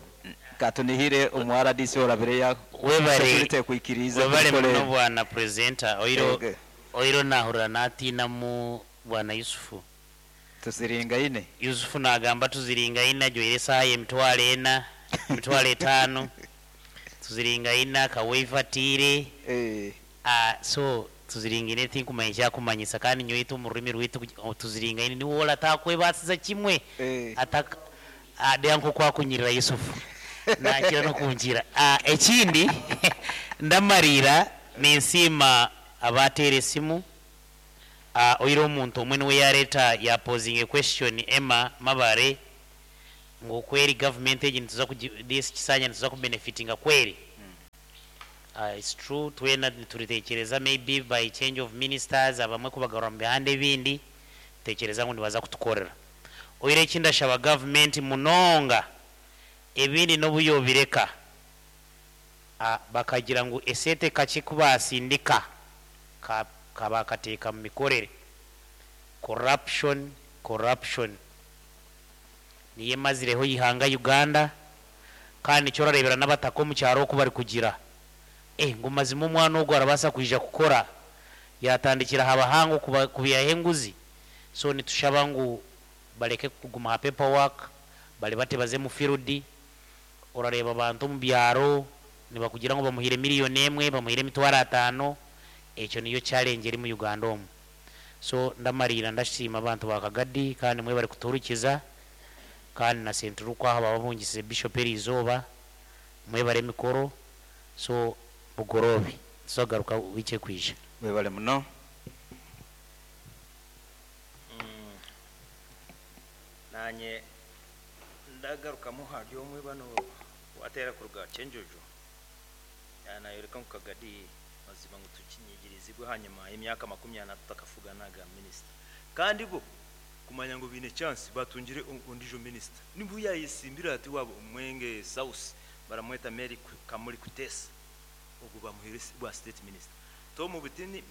Speaker 2: Katunihire omu rdc orabire
Speaker 6: Webare
Speaker 2: security ekwikiriize
Speaker 6: webare
Speaker 2: kukora
Speaker 6: muno
Speaker 2: ebi.
Speaker 6: bwana presenter oiro oiro nahurira natiinamu bwana Yusufu.
Speaker 2: Tuziringaine.
Speaker 6: Yusufu nagamba tuziringaine ajwaire esaaha y'emitwaro ena, emitwaro etaano, tuziringaine akawave atiire, so tuziringaine tinkumanya eki akumanyisa kandi nyowe itwe omu rurimi rwaitu tuziringaine niwe ora atakwebaasiza kimwe ataka reeba nk'oku akunyirira Yusufu nakira n'okunkira. Ekindi ndamariira ninsiima abaateera esimu. Oire omuntu omwe niwe yareeta ya posinga question Emma Mabare ngu kweri government egi nituza kugi this kisanja nituza ku benefitinga kweri? It's true twena nituritekyereza maybe by change of ministers abamwe kubagarura mu bihanda ebindi nitutekyereza ngu nibaza kutukorera. Oire eki ndashaba government munonga ebindi nobu yobireka Bakagira ngu esente kakye ku baasindika ka ka baakateeka mu mikorere. Corruption, corruption niyo emazireho eihanga Uganda kandi nikyo orareebera n'abataka omu kyaro oku barikugira eh ngu mazima omwana ogu arabaasa kwija kukora yaatandikira aha bahango kuba kubaihaho enguzi? So nitushaba ngu bareke kuguma aha paper work baribate baze mu field. Orareeba abantu omu byaro nibakugira ngu bamuhaire miriyoni emwe, bamuhaire emitwaro ataano, ekyo niyo challenge eri mu Uganda omu. So ndamariira ndasiima abantu ba Kagadi kandi mwebare kutuhurikiza kandi na Sentulukwa ahu bababungisize Bishop eriizooba, mwebare emikoro, so bugoroobi nituza kugaruka week ekwija.
Speaker 2: Webale muno.
Speaker 13: Naanye Ndagarukamu ahari omwe banu owateera kuruga Kyenjojo yaaba nayoreka ngu Kagadi mazima ngu tukinyigirizibwe ahanyima y'emyaka 40 tutakafuganaga minisita kandi bo kumanya ngu baine chance batungire ondijo minisita nibwo yayesimbire ati owa Mwenge South baramweta Mary Kamuli Kutesa ogwo bamuhaire bwa state minister Tom Butini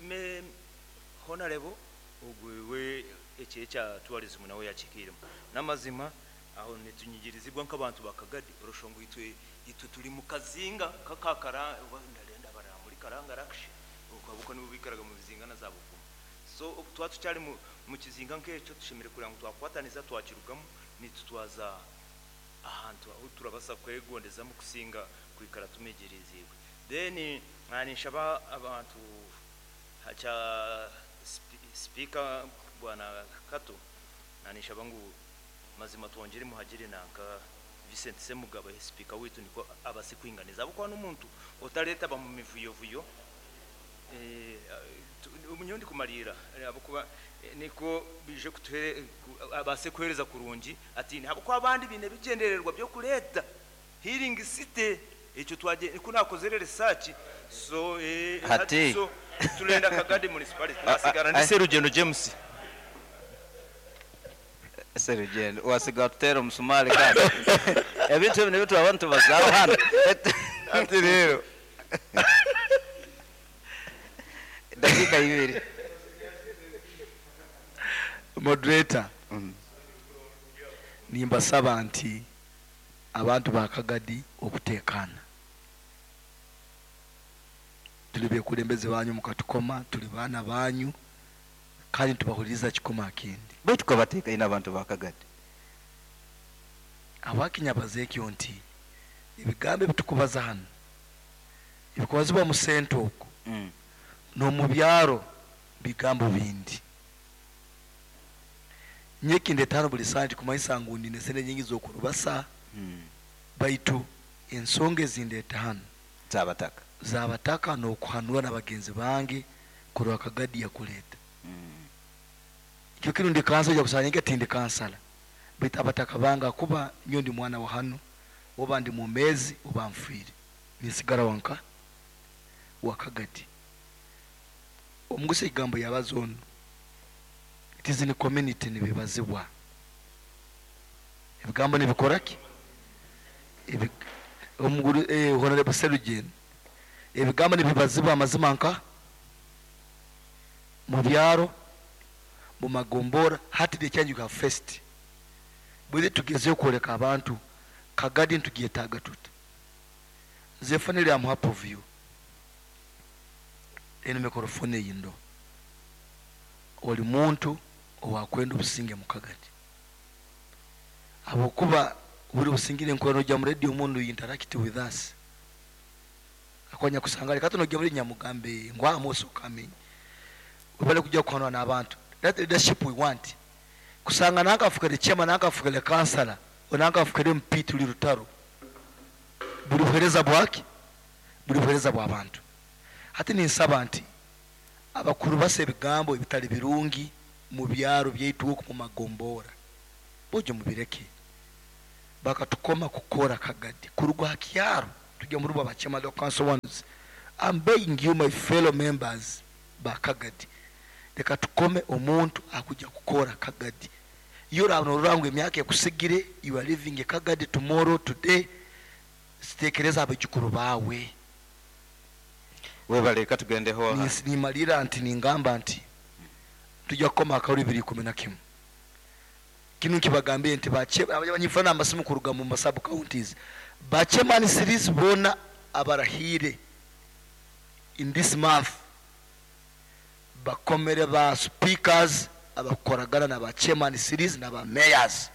Speaker 13: Honarebo Ogwo we eki ekya tourism nawe yakihikiiremu. N'amazima aho nitunyigirizibwa nk'abantu ba Kagadi orashusha ngu itwe itwe turi mu kazinga nk'aka Kara oba ndarenda barara muri Karanga Rakshi okwo ahabw'okuba nibo baikaraga mu bizinga na za Buvuma. So obu twaba tukyari mu mu kizinga nk'ekyo tushemereire kureba ngu twakwatanisa twakirugamu naitwe twaza ahantu ahu turabasa kwegondezamu kusinga kwikara tumigiriziibwe. Then ninshaba abantu Kya sipiika bwana Kato na ninshaba ngu mazima twongyere muhagire nanka Vincent Ssemugabo ahe sipiika waitu nikwo abase kwinganiza ahabw'okuba n'omuntu otareetaba mu mivuyovuyo nyowe ndikumariira ahabw'okuba nikwo baije kutuhe abaase kuheereza kurungi atiine ahabw'okuba abandi baine ebigyendererwa by'okureeta Healing city ekyo twagye ku nakozere research so eh hati
Speaker 2: Hati.
Speaker 13: so turenda Kagadi municipality nasigara ndi Serugendo James.
Speaker 2: Serugendo wasiga watuteera omusumaari kandi ebintu ebi nibyo twaba nitubazaho hanu.
Speaker 1: Hati rero
Speaker 2: Dakiika ibiri.
Speaker 1: Moderator, nimbasaba nti Abantu ba Kagadi okutekaana. Turi bekulembeze banyu mukatukoma, turi baana banyu kandi nitubahuririza kikoma akindi.
Speaker 2: Baitu kabateekaine abantu ba Kagadi.
Speaker 1: Habwaki nyabaza ekyo nti ebigambo ebitukubaza hanu ebikubazibwa mu senta oku n'omubyaro bigambo bindi. Nyowe ekindeeta hanu buri saaha tikumanyisa ngu nyine sente nyingi z'okurubasa, baitu ensonga ezindeeta hanu
Speaker 2: Z'abataka.
Speaker 1: z'abataka n'okuhanura na bagenzi bange kurora Kagadi yakuleeta. Ekiro kinu ndi kansala oija kusanga nyenka tindi kansala baitu abataka bange ahakuba nyowe ndi mwana wa hanu oba ndi mwomeezi oba nfiire ninsigara wa nka wa Kagadi. Omugusa ekigambo yabaza onu. It is in community nibibazibwa. Ebigambo nibikora ki? Ebi, omuguru, eh, Honorable Serugendo, ebigambo nibibazibwa amazima nka mu byaro, mu magombora, hati the challenge we have faced. Bwire tugezeho kworeka abantu Kagadi nitugyetaaga tuta. Nze finally am happy of you. Enu mikorofoni eyi ndo. Oli muntu owakwenda obusinge mu Kagadi. Habwokuba buri busingire nkurora nojya mu radio omundu you interact with us. Akonya kusanga leka nojya muri nyamugambe ngu I'm also coming. Webale kujya kuhanura n'abantu. That leadership we want. Kusanga nanka afukere chairman, nanka afukere councillor, nanka afukere MP tuli rutaro. Buri buhereza bwaki? Buri buhereza bw'abantu. Hati ninsaba nti. Abakurubasa ebigambo ebitari birungi mu byaro byaitu oku mu magombora, bojo mubireke. Bakatukoma kukora Kagadi kuruga aha kyaro tujya muri ba chairman of council ones. I'm begging you my fellow members ba Kagadi, leka tukome omuntu akujja kukora Kagadi. Iyo oraba norora ngu emyaka ekusigire, you are leaving Kagadi tomorrow, today, tekereza abaijukuru bawe.
Speaker 2: Webale, katugendeho aha.
Speaker 1: Nimalira nti ningamba nti tujja kukoma akaruru 2011. Kinu nkibagambire nti abanyifana amasimu kuruga mu sub counties, ba chairman series bona abarahire in this month bakomere ba speakers abakoragana na ba chairman series na ba mayors.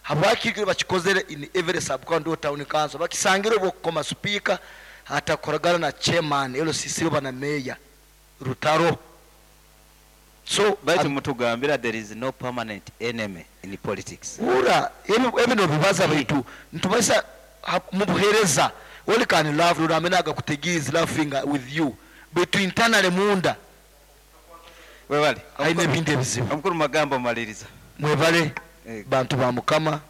Speaker 1: Habwaki bakikozere in every sub county or town council? Bakisangire obukoma speaker atakoragana na chairman LCC oba na mayor Rutaro. So
Speaker 2: baitu mutugambira there is no permanent enemy in politics.
Speaker 1: Ura ebino bibaza baitu ntubaisa mubuhereza oli can love ruramenaga kutegiz laughing with you baitu internally munda
Speaker 2: webale
Speaker 1: haine ebindi ebizibu.
Speaker 2: Omukuru magambo maliriza.
Speaker 1: Mwebale bantu ba Mukama,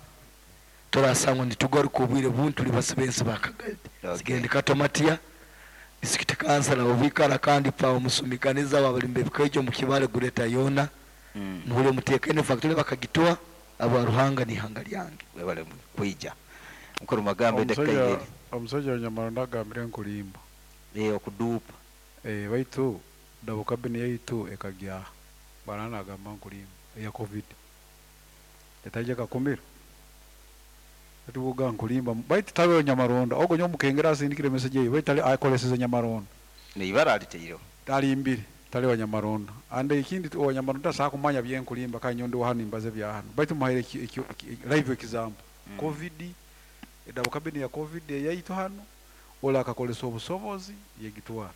Speaker 1: turasangwa nitugaruka obwire buntu tuli basibensi ba Kagadi. Sigende Katomatia district council obikara kandi pa omusumikaniza wabalimbe bikejo mu kibale gureta yona. Muhule mutekene factory bakagitoa aba Ruhanga ni hanga lyange.
Speaker 2: Webale kuija. Mukuru magambo ndekaire.
Speaker 3: Omusajja Nyamaronda agambire nkulimba.
Speaker 2: Okudupa.
Speaker 3: Baitu dabo kabini yaitu ekagya banana agamba nkulimba ya COVID. Etaje kakumira. Tubuga nkulimba baitu tabe Nyamaronda ogo nyo mukengera asindikire message ye baitu akoleseze Nyamaronda.
Speaker 2: Ni ibara aliteiro.
Speaker 3: Talimbire tali wa Nyamaronda. Ande ikindi wa Nyamaronda sa kumanya bye nkulimba kanyondo hano imbaze bya hano. Baitu muhaire live example. COVID edabo kabini ya COVID yaitu hano ola akakolesa obusobozi yegitwara.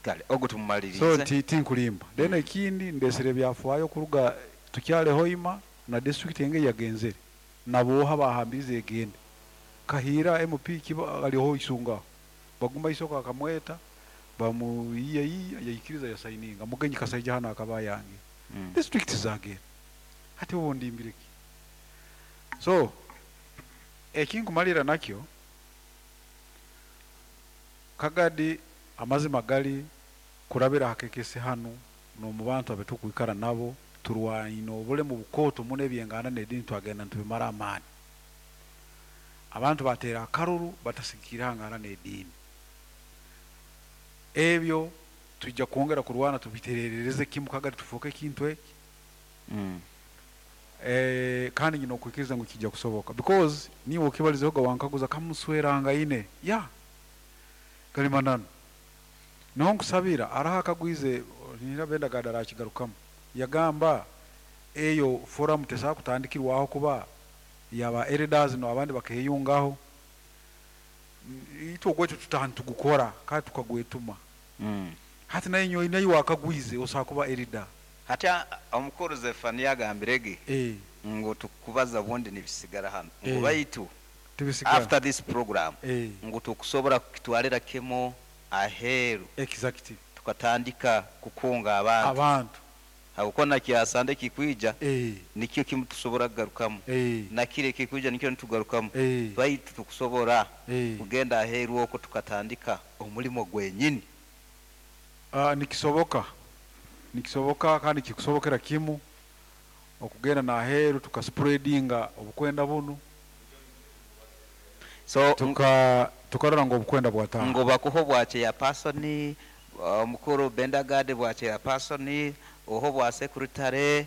Speaker 2: Kale ogo tumumalirize.
Speaker 3: So tinkulimba. Then ikindi ndesere byafwayo kuruga tukyale hoima na district yenge yagenzere. Naboha bahambize egende. Kahira MP kiba aliho isunga. Baguma isoka akamweta bamuyiya yayikiriza ya signinga mugenyi kasaija hano akaba yange. District zagende. Hati wondi imbireki. So ekinkumalira nakyo Kagadi amazima gali kurabira hakekese hano no mu bantu abetukwikara nabo turwaino obule mu bukoto mune byengana nedini twagenda ntubimara amani. Abantu batera akaruru batasikira ngana nedini. Ebyo tujja kuongera kurwana tubiterereze kimu Kagadi tufoke kintu eki. Kandi nyino kwikiriza ngo kijja kusoboka because niwo okibalizeho wankaguza kamusweranga ine ya kalimanano no nkusabira araha akagwize nira benda gadara kigarukamu yagamba eyo forum tesa kutandikirwaho kuba yaba elders no abandi bakeyungaho ito gwetu tutahantu gukora kandi tukagwetuma. Hati nayo nyo nayo wakagwize osakuba elder
Speaker 2: hata omukuru Zefania agambirege ngo tukubaza bundi nibisigara hano ngo baitu after this program ngo tukusobora kukitwalira kemo aheru
Speaker 3: exactly
Speaker 2: tukatandika kukunga abantu habukona kyasande kikwija nikyo kimu tusobora kugarukamu na kire kikwija nikyo nitugarukamu baitu tukusobora kugenda aheru oko tukatandika omulimo gwenyini.
Speaker 3: Nikisoboka nikisoboka kandi kikusobokera kimu okugenda na aheru tukaspreadinga obukwenda bunu. So tukarora ngo obukwenda bwataha
Speaker 2: ngo bakuho bwache ya person omukuru Bendagade bwache ya person oho bwa secretary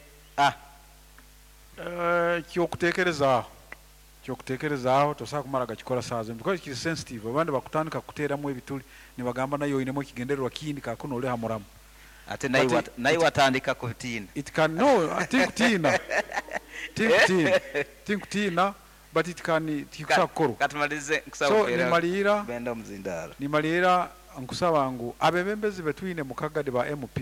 Speaker 3: kyokutekereza tosaka kumara gakikora sazo because kiri sensitive abandi bakutandika kuteramu ebituli nibagamba nayo inemo kigendererwa kindi kakuno ole hamuramu
Speaker 2: ate nayo watandika kutina
Speaker 3: it can no tinkutina tinkutina but it can tikusakoro
Speaker 2: katumalize nkusaba
Speaker 3: so nimalira
Speaker 2: benda muzindara
Speaker 3: nimalira nkusaba ngu abebembezi betwine mukagadi ba MP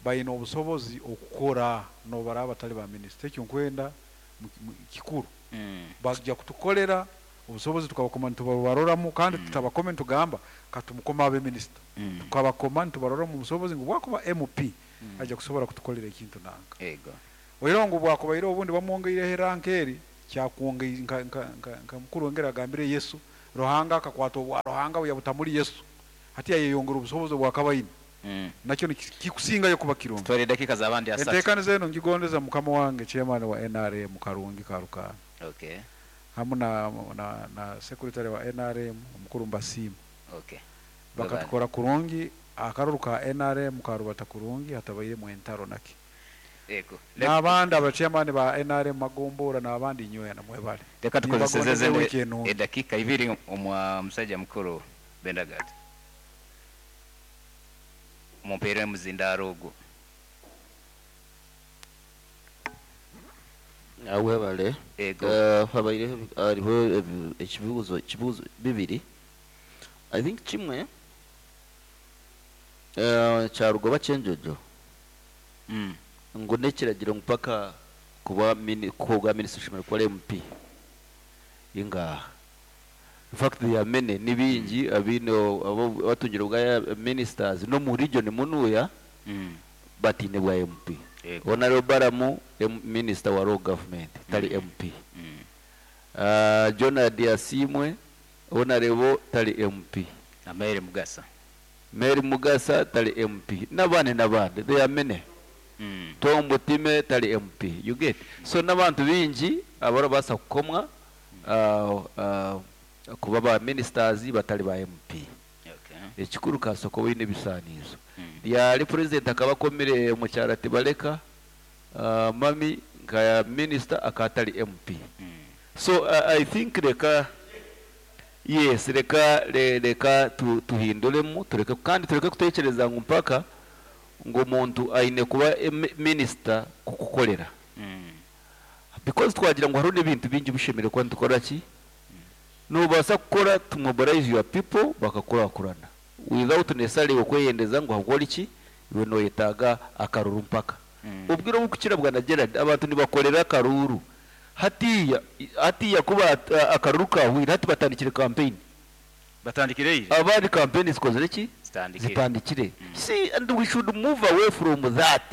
Speaker 3: bayina obusobozi okukora no baraba batali ba minister ekyo nkwenda kikuru bajja kutukolera Obusobozi tukabakoma nitubaroramu kandi tutabakome nitugamba katumukome abe minisita. Tukabakoma nitubaroramu obusobozi ngu bwakuba MP aija kusobora kutukolera ekintu nanka. Oihireho ngu bwakubaire obundi bamwongeireho eranka eri, kyakwongei nka nka nka nka mukuru engeri agambire Yesu, Ruhanga akakwata obwa Ruhanga bwe yabuta muri Yesu, hati yayeyongera obusobozi obwakaba aine. Nakyo nikikusingayo kuba kirungi.
Speaker 2: Tutware edakiika z'abandi asatu.
Speaker 3: Enteekaniza enu ngigondeza mukama wange chairman wa nrm Karungi Karukaana hamu na na na secretary wa nrm omukuru Mbasiima. Bakatukora kurungi, akaruru ka nrm karubata kurungi hatabairemu entaro naki. N'abandi aba chairman ba nrm Magombora n'abandi inywena mwebale.
Speaker 2: Reka tukozeseze
Speaker 3: Nimbagondeza
Speaker 2: ezindi
Speaker 3: ewiiki enungi.
Speaker 2: edakiika ibiri omwa musaija mukuru Bendagat. Mumpeere omuzindaaro ogwo.
Speaker 14: Webale.
Speaker 2: Ego.
Speaker 14: Habaireho hariho ekibuuzo ekibuuzo bibiri. I think kimwe kyaruga oba Kyenjojo ngu n'ekiragiro ngu paka kuba kuha obwa minisita oshemereire kuba ori MP. Ingaha. In fact there are many, ni baingi abaine abatungire obwa ministers n'omu region munuuya bataine bwa MP. Honourable Balamu minister wa local government tari MP. Jonard Asiimwe Honourable tari MP.
Speaker 2: Na Mary Mugasa.
Speaker 14: Mary Mugasa tari MP n'abandi n'abandi there are many. Tom Butime tari MP you get so n'abantu baingi abarabaasa kukomwa kuba ba ministers batari ba MP. Ekikuru kasooka obe oine ebisaanizo. Ryari president akaba akomire omukyara Tibaleka Mummy nka minister akaba atari MP. So I think reka yes reka reka tuhinduremu tureke kandi tureke kutekyereza ngu mpaka ngu omuntu aine kuba minister kukukorera. Because twagira ngu hariho n'ebintu bingi ebishemereire kuba nitukora ki? Nobaasa kukora to mobilize your people bakakurakurana without necessarily okweyendeza ngu ahabw'okuba ki iwe noyetaaga akaruru mpaka. Obwire oburikukira bwana Gerald abantu nibakorera akaruuru hatiiya hatiiya ku akaruru kahweire hati batandikire campaign.
Speaker 2: Batandikire ira.
Speaker 14: Abandi campaign zikozire ki?
Speaker 2: Zitandikire.
Speaker 14: Zitandikire. See and we should move away from that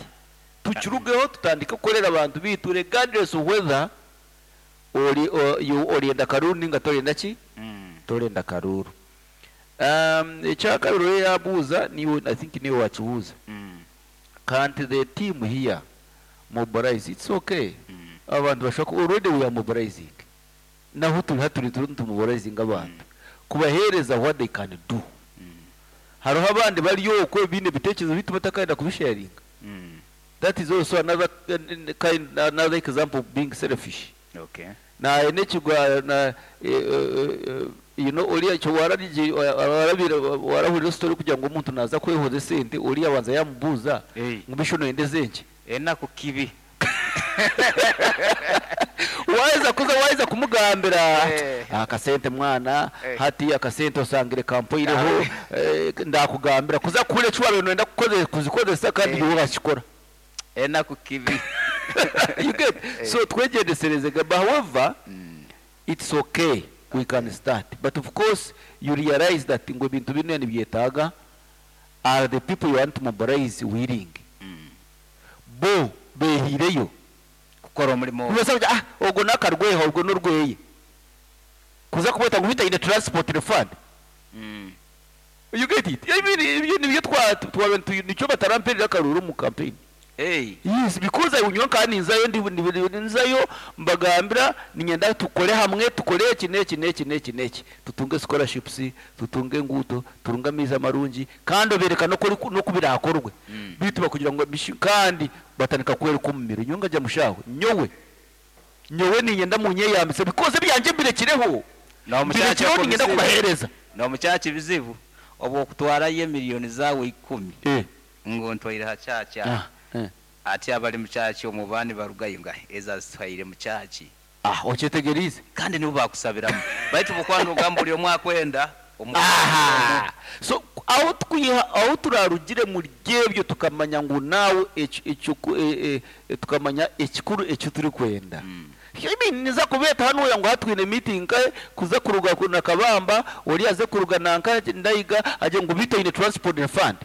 Speaker 14: tukirugeho tutandike kukorera abantu baitu regardless of whether ori you orenda karuuru ninga torenda ki? Torenda karuuru. Ekyakabiri oriya yabuuza niiwe I think niiwe wakibuuza. Can't the team here mobilize? It's okay. Abantu bashobora ku already we are mobilizing. Nahu turi hati turi turiyo nitumobilizinga abantu kubaheereza what they can do. Hariho abandi bari okwo baine ebiteekyerezo beitu batakayenda kubisharinga. That is also another kind another example of being selfish. Naayenda ekigwa na you know oriya ekyo wararigi warabire warahurira story kugira ngu omuntu naaza kwehoza esente oriya abanza yaamubuuza ngu mbwenu shi noyenda ezenki?
Speaker 2: Enaku kibi.
Speaker 14: Waaheza kuza waaheza kumugambira akasente mwana hati akasente osangire kampoireho ndakugambira kuza kuhurira eki waabaire noyenda kuzikozesa kandi iwe wakikora.
Speaker 2: Enaku kibi.
Speaker 14: You get? So twegyendesereze but however it's okay we can start but of course you realize that ngu ebintu binu nibyetaaga are the people you want to mobilize willing? Bo behiireyo
Speaker 2: kukora omurimo ogwo.
Speaker 14: Nibabaasa kugira ah ogwo n'akarweha orwo n'orweye. Kuza kubweta ngu beitu aine transport fund. You get it? Ebi ebyo nibyo twa twaba nitu nikyo bataramperera akaruuru omu campaign. Yes, because I nyowe nkaba ninzayo ndi ndi nzayo mbagambira niinyenda tukore hamwe tukore eki n'eki n'eki n'eki n'eki tutunge scholarships, tutunge enguuto, turunge amaizi amarungi kandi obeereka n'oku oriku n'oku biraakorwe beitu bakugira ngu bishi kandi batandika kweruka omu miro nyowe nkagira mushaawe nyowe nyowe niinyenda munyeyambise because ebyangye mbirekireho mbirekireho niinyenda kubaheereza.
Speaker 2: N'omukyakya ebizibu obw'okutwarayo emiliyoni zaawe ikumi ngu ntwaire ha kyakya ati abari mu kyakya omu ba nibarugayo ngu ezi azitwaire mu kyaki.
Speaker 14: Ah okyetegeriize?
Speaker 2: Kandi nibo baakusabiramu baitu obwokuba nogamba buri omwe akwenda omu
Speaker 14: Aha so ahu tukwiha ahu turarugire muri ebyo tukamanya ngu naawe ekyo tukamanya ekikuru eki turikwenda.
Speaker 5: I mean, niza kubeeta hanuya ngu hati twine meeting nkahe kuza kuruga ku- na Kabamba ori aze kuruga nanka Ndaiga agye ngu bitu oine transport na fund.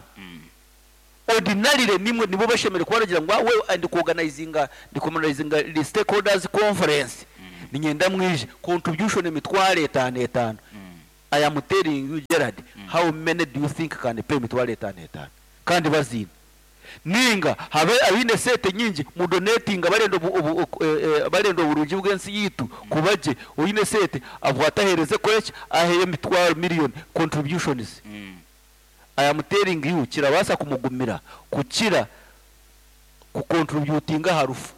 Speaker 5: Ordinarily nimwe nibo bashemereire kuba baragira ngu we ndi kuorganizinga ndi kuorganizinga the stakeholders conference ninyenda mwije contribution emitwaro etaano etaano. I am telling you Gerard, how many do you think can pay emitwaro etaano etaano kandi baziine? Ninga habe abaine esente nyingi mudonetinga barenda obu, obu, oku- eh, eh, barenda oburungi bw'ensi yitu kuba gye oine esente abwate ahereze koreki aheyo emitwaro million contributions. I am telling you kirabaasa kumugumira kukira kucontributinga aha rufu.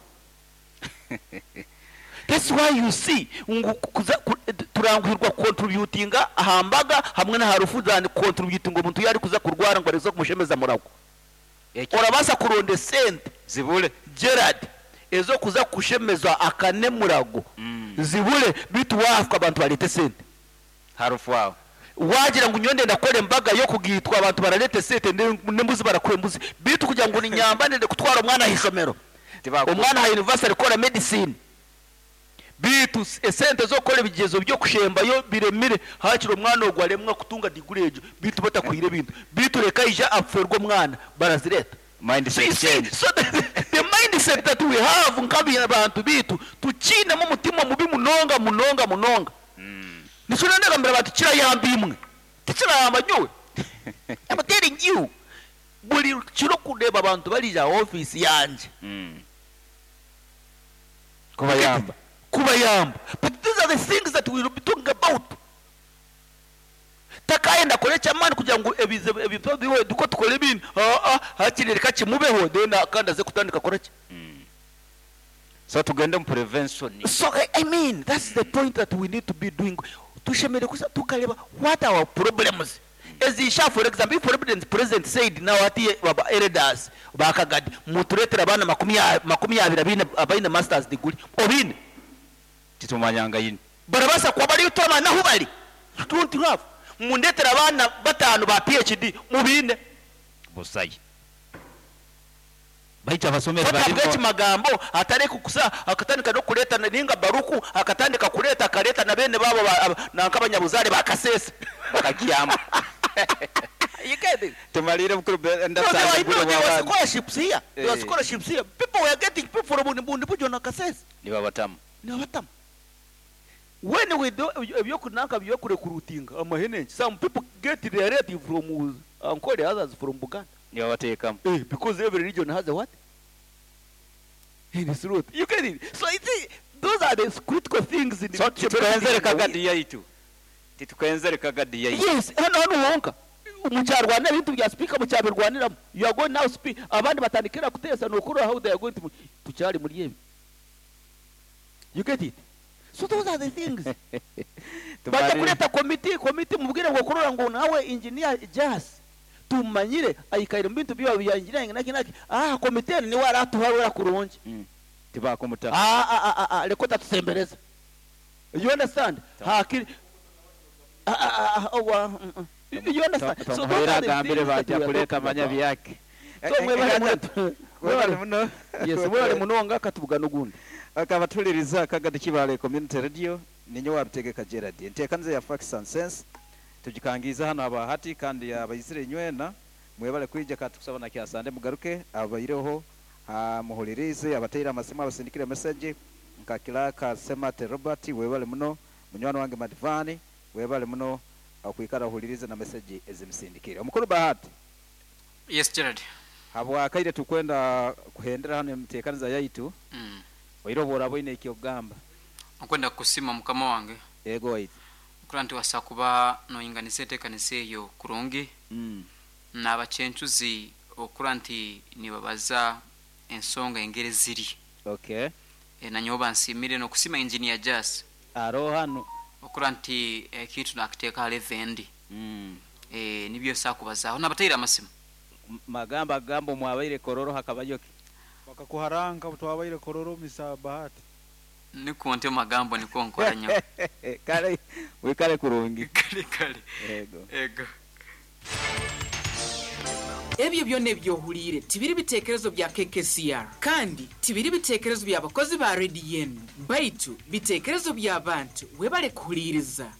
Speaker 5: That's why you see ngu kuza ku, turanguhirwa kucontributinga aha mbaga hamwe n'aha rufu than kucontributinga omuntu yaari kuza kurwara ngu arikuza kumushemeza murago. Orabaasa kuronda esente
Speaker 2: zibure
Speaker 5: Gerard ez'okuza kushemeza akane murago zibure bitu waafwa abantu bareete esente.
Speaker 2: Harufu aho.
Speaker 5: Wagira ngu nyowe ndenda kukora embaga y'okugaitwa abantu barareeta esente n'embuzi barakuha embuzi bitu kugira ngu ninyamba ndende kutwara omwana aha ishomero omwana aha university kukora medicine bitu esente z'okukora ebigyezo by'okushembayo biremire hakiri omwana ogwo aremwa kutunga degree egyo bitu batakuhire ebintu bitu reka aije aferwe omwana barazireeta.
Speaker 2: Mindset
Speaker 5: So you see,
Speaker 2: change.
Speaker 5: so the mindset that we have nk'abantu bitu tukiinemu omutima mubi munonga munonga munonga. Nikyo ndagambira abantu kirayamba imwe tikirayamba nyowe. I'm telling you buri kiro kureeba abantu barija aha office yangye.
Speaker 2: Kubayamba.
Speaker 5: Kubayamba. But these are the things that we will be talking about. Takayenda kore eky'amaani kugira ngu ebizibu ebintu biwe duko tukore ebindi. Ah, ah, hakiri reka kimubeho then kandi aze kutandika kora ki?
Speaker 2: So tugende mu prevention.
Speaker 5: So I mean that's the point that we need to be doing. Tushemereire kusa tukareba what are our problems. Ezisha for example if president said now ati baba elders bakagadi muturetera abana makumi abiri abaine masters degree obine
Speaker 2: titumanyanga yini
Speaker 5: barabasa kuba bari utoma naho bari don't have mundetera abana batanu ba PhD mubine
Speaker 2: busayi baita abasomeri
Speaker 5: Batabwa
Speaker 2: barimo
Speaker 5: ekimagambo atari kukusa akatandika no kureta ninga baruku akatandika kureta akareta na bene babo nanka abanyabuzare bakasesa
Speaker 2: bakakiyamba.
Speaker 5: You get it?
Speaker 2: Tumalire mukuru
Speaker 5: No,
Speaker 2: ndasanga
Speaker 5: there were,
Speaker 2: mukuru
Speaker 5: no, there were
Speaker 2: w'abana.
Speaker 5: scholarships here. There were scholarships here. People were getting people from Bundi Bujo na Kasese.
Speaker 2: Ni babatamu.
Speaker 5: Ni babatamu. When we do ebyokunanka byokurekrutinga amahene, some people get their relative from Ankole, others from Buganda.
Speaker 2: Ni babateekamu.
Speaker 5: Because every region has a what? In its root. You get it? So it's, those are the critical things in the
Speaker 2: So,
Speaker 5: future.
Speaker 2: titukwenzere kagadi yaitu. Titukwenzere kagadi yaitu.
Speaker 5: Yes, hano hano wonka. Mukyarwanira ebintu bya speaker mukyabirwaniramu. You are going now speak. Abandi batandikira kuteesa nokura how they are going to tukyali muri ebi. You get it? So those are the things. Bajya kureta committee mubwire ngo kurora ngo nawe engineer Jas tumanyire ayikaire mu bintu byawe bya engineering naki naki. Committee ni waratuharura kurungi.
Speaker 2: Tibakomuta.
Speaker 5: Reko tatusembereza. You understand? Hakiri. Oh, You understand? So those are the
Speaker 2: Gambire
Speaker 5: things that
Speaker 2: bajya
Speaker 5: we are
Speaker 2: kuleta
Speaker 5: talking
Speaker 2: manya
Speaker 5: about.
Speaker 2: byake.
Speaker 5: So mwebale muno.
Speaker 2: Mwebale muno.
Speaker 5: Yes, mwebale munonga katuvuga n'ogundi.
Speaker 2: Akabatuliriza Kagadi Kibale Community Radio ninyo wabitegeka Gerard. Enteekaniza ya Facts and Sense tugikangiza hano abahati kandi abayizire nywena mwebale kwija katukusaba na kyasande mugaruke abaireho muhulirize abateire amasimu abasindikire message nka Kiraka Semate Robert webale muno munywani wange Madivani webale muno okwikara ohulirize na message ezimusindikire. Omukuru Bahati.
Speaker 8: Yes Gerard.
Speaker 2: Habwakaire tukwenda kuhendera hano emiteekaniza yaitu. Oiro bora boine ekyogamba.
Speaker 8: Okwenda kusima mukama wange.
Speaker 2: Ego waitu.
Speaker 8: Kura nti wasa kuba noyinganisa enteekanisa eyo kurungi. N'abakyencuzi okura nti nibabaza ensonga engeri ziri. Nanyowe bansiimire n'okusima engineer Jas.
Speaker 2: Aro hano.
Speaker 8: Okura nti ekintu nakiteeka hali evendi. Nibyo sakubazaho n'abateire amasimu.
Speaker 2: Magamba gambo mwabaire kororo hakabayoki.
Speaker 3: Bakakuharanga twabaire kororo misa Bahati.
Speaker 8: Niko nte magambo niko nkora nyo.
Speaker 2: Kale wikale kurungi.
Speaker 8: Kale kale.
Speaker 2: Ego.
Speaker 8: Ego.
Speaker 15: Ebyo byona ebyohuliire tibiri bitekerezo bya KKCR, kandi tibiri bitekerezo by'abakozi ba rediyo enu, baitu bitekerezo by'abantu. Webale kuhuliiriza.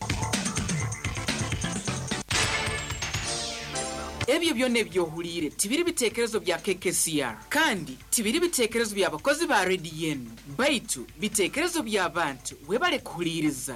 Speaker 15: Ebyo byona ebyohuliire tibiri bitekerezo bya KKCR, kandi tibiri bitekerezo by'abakozi ba rediyo enu, baitu bitekerezo by'abantu. Webale kuhuliiriza.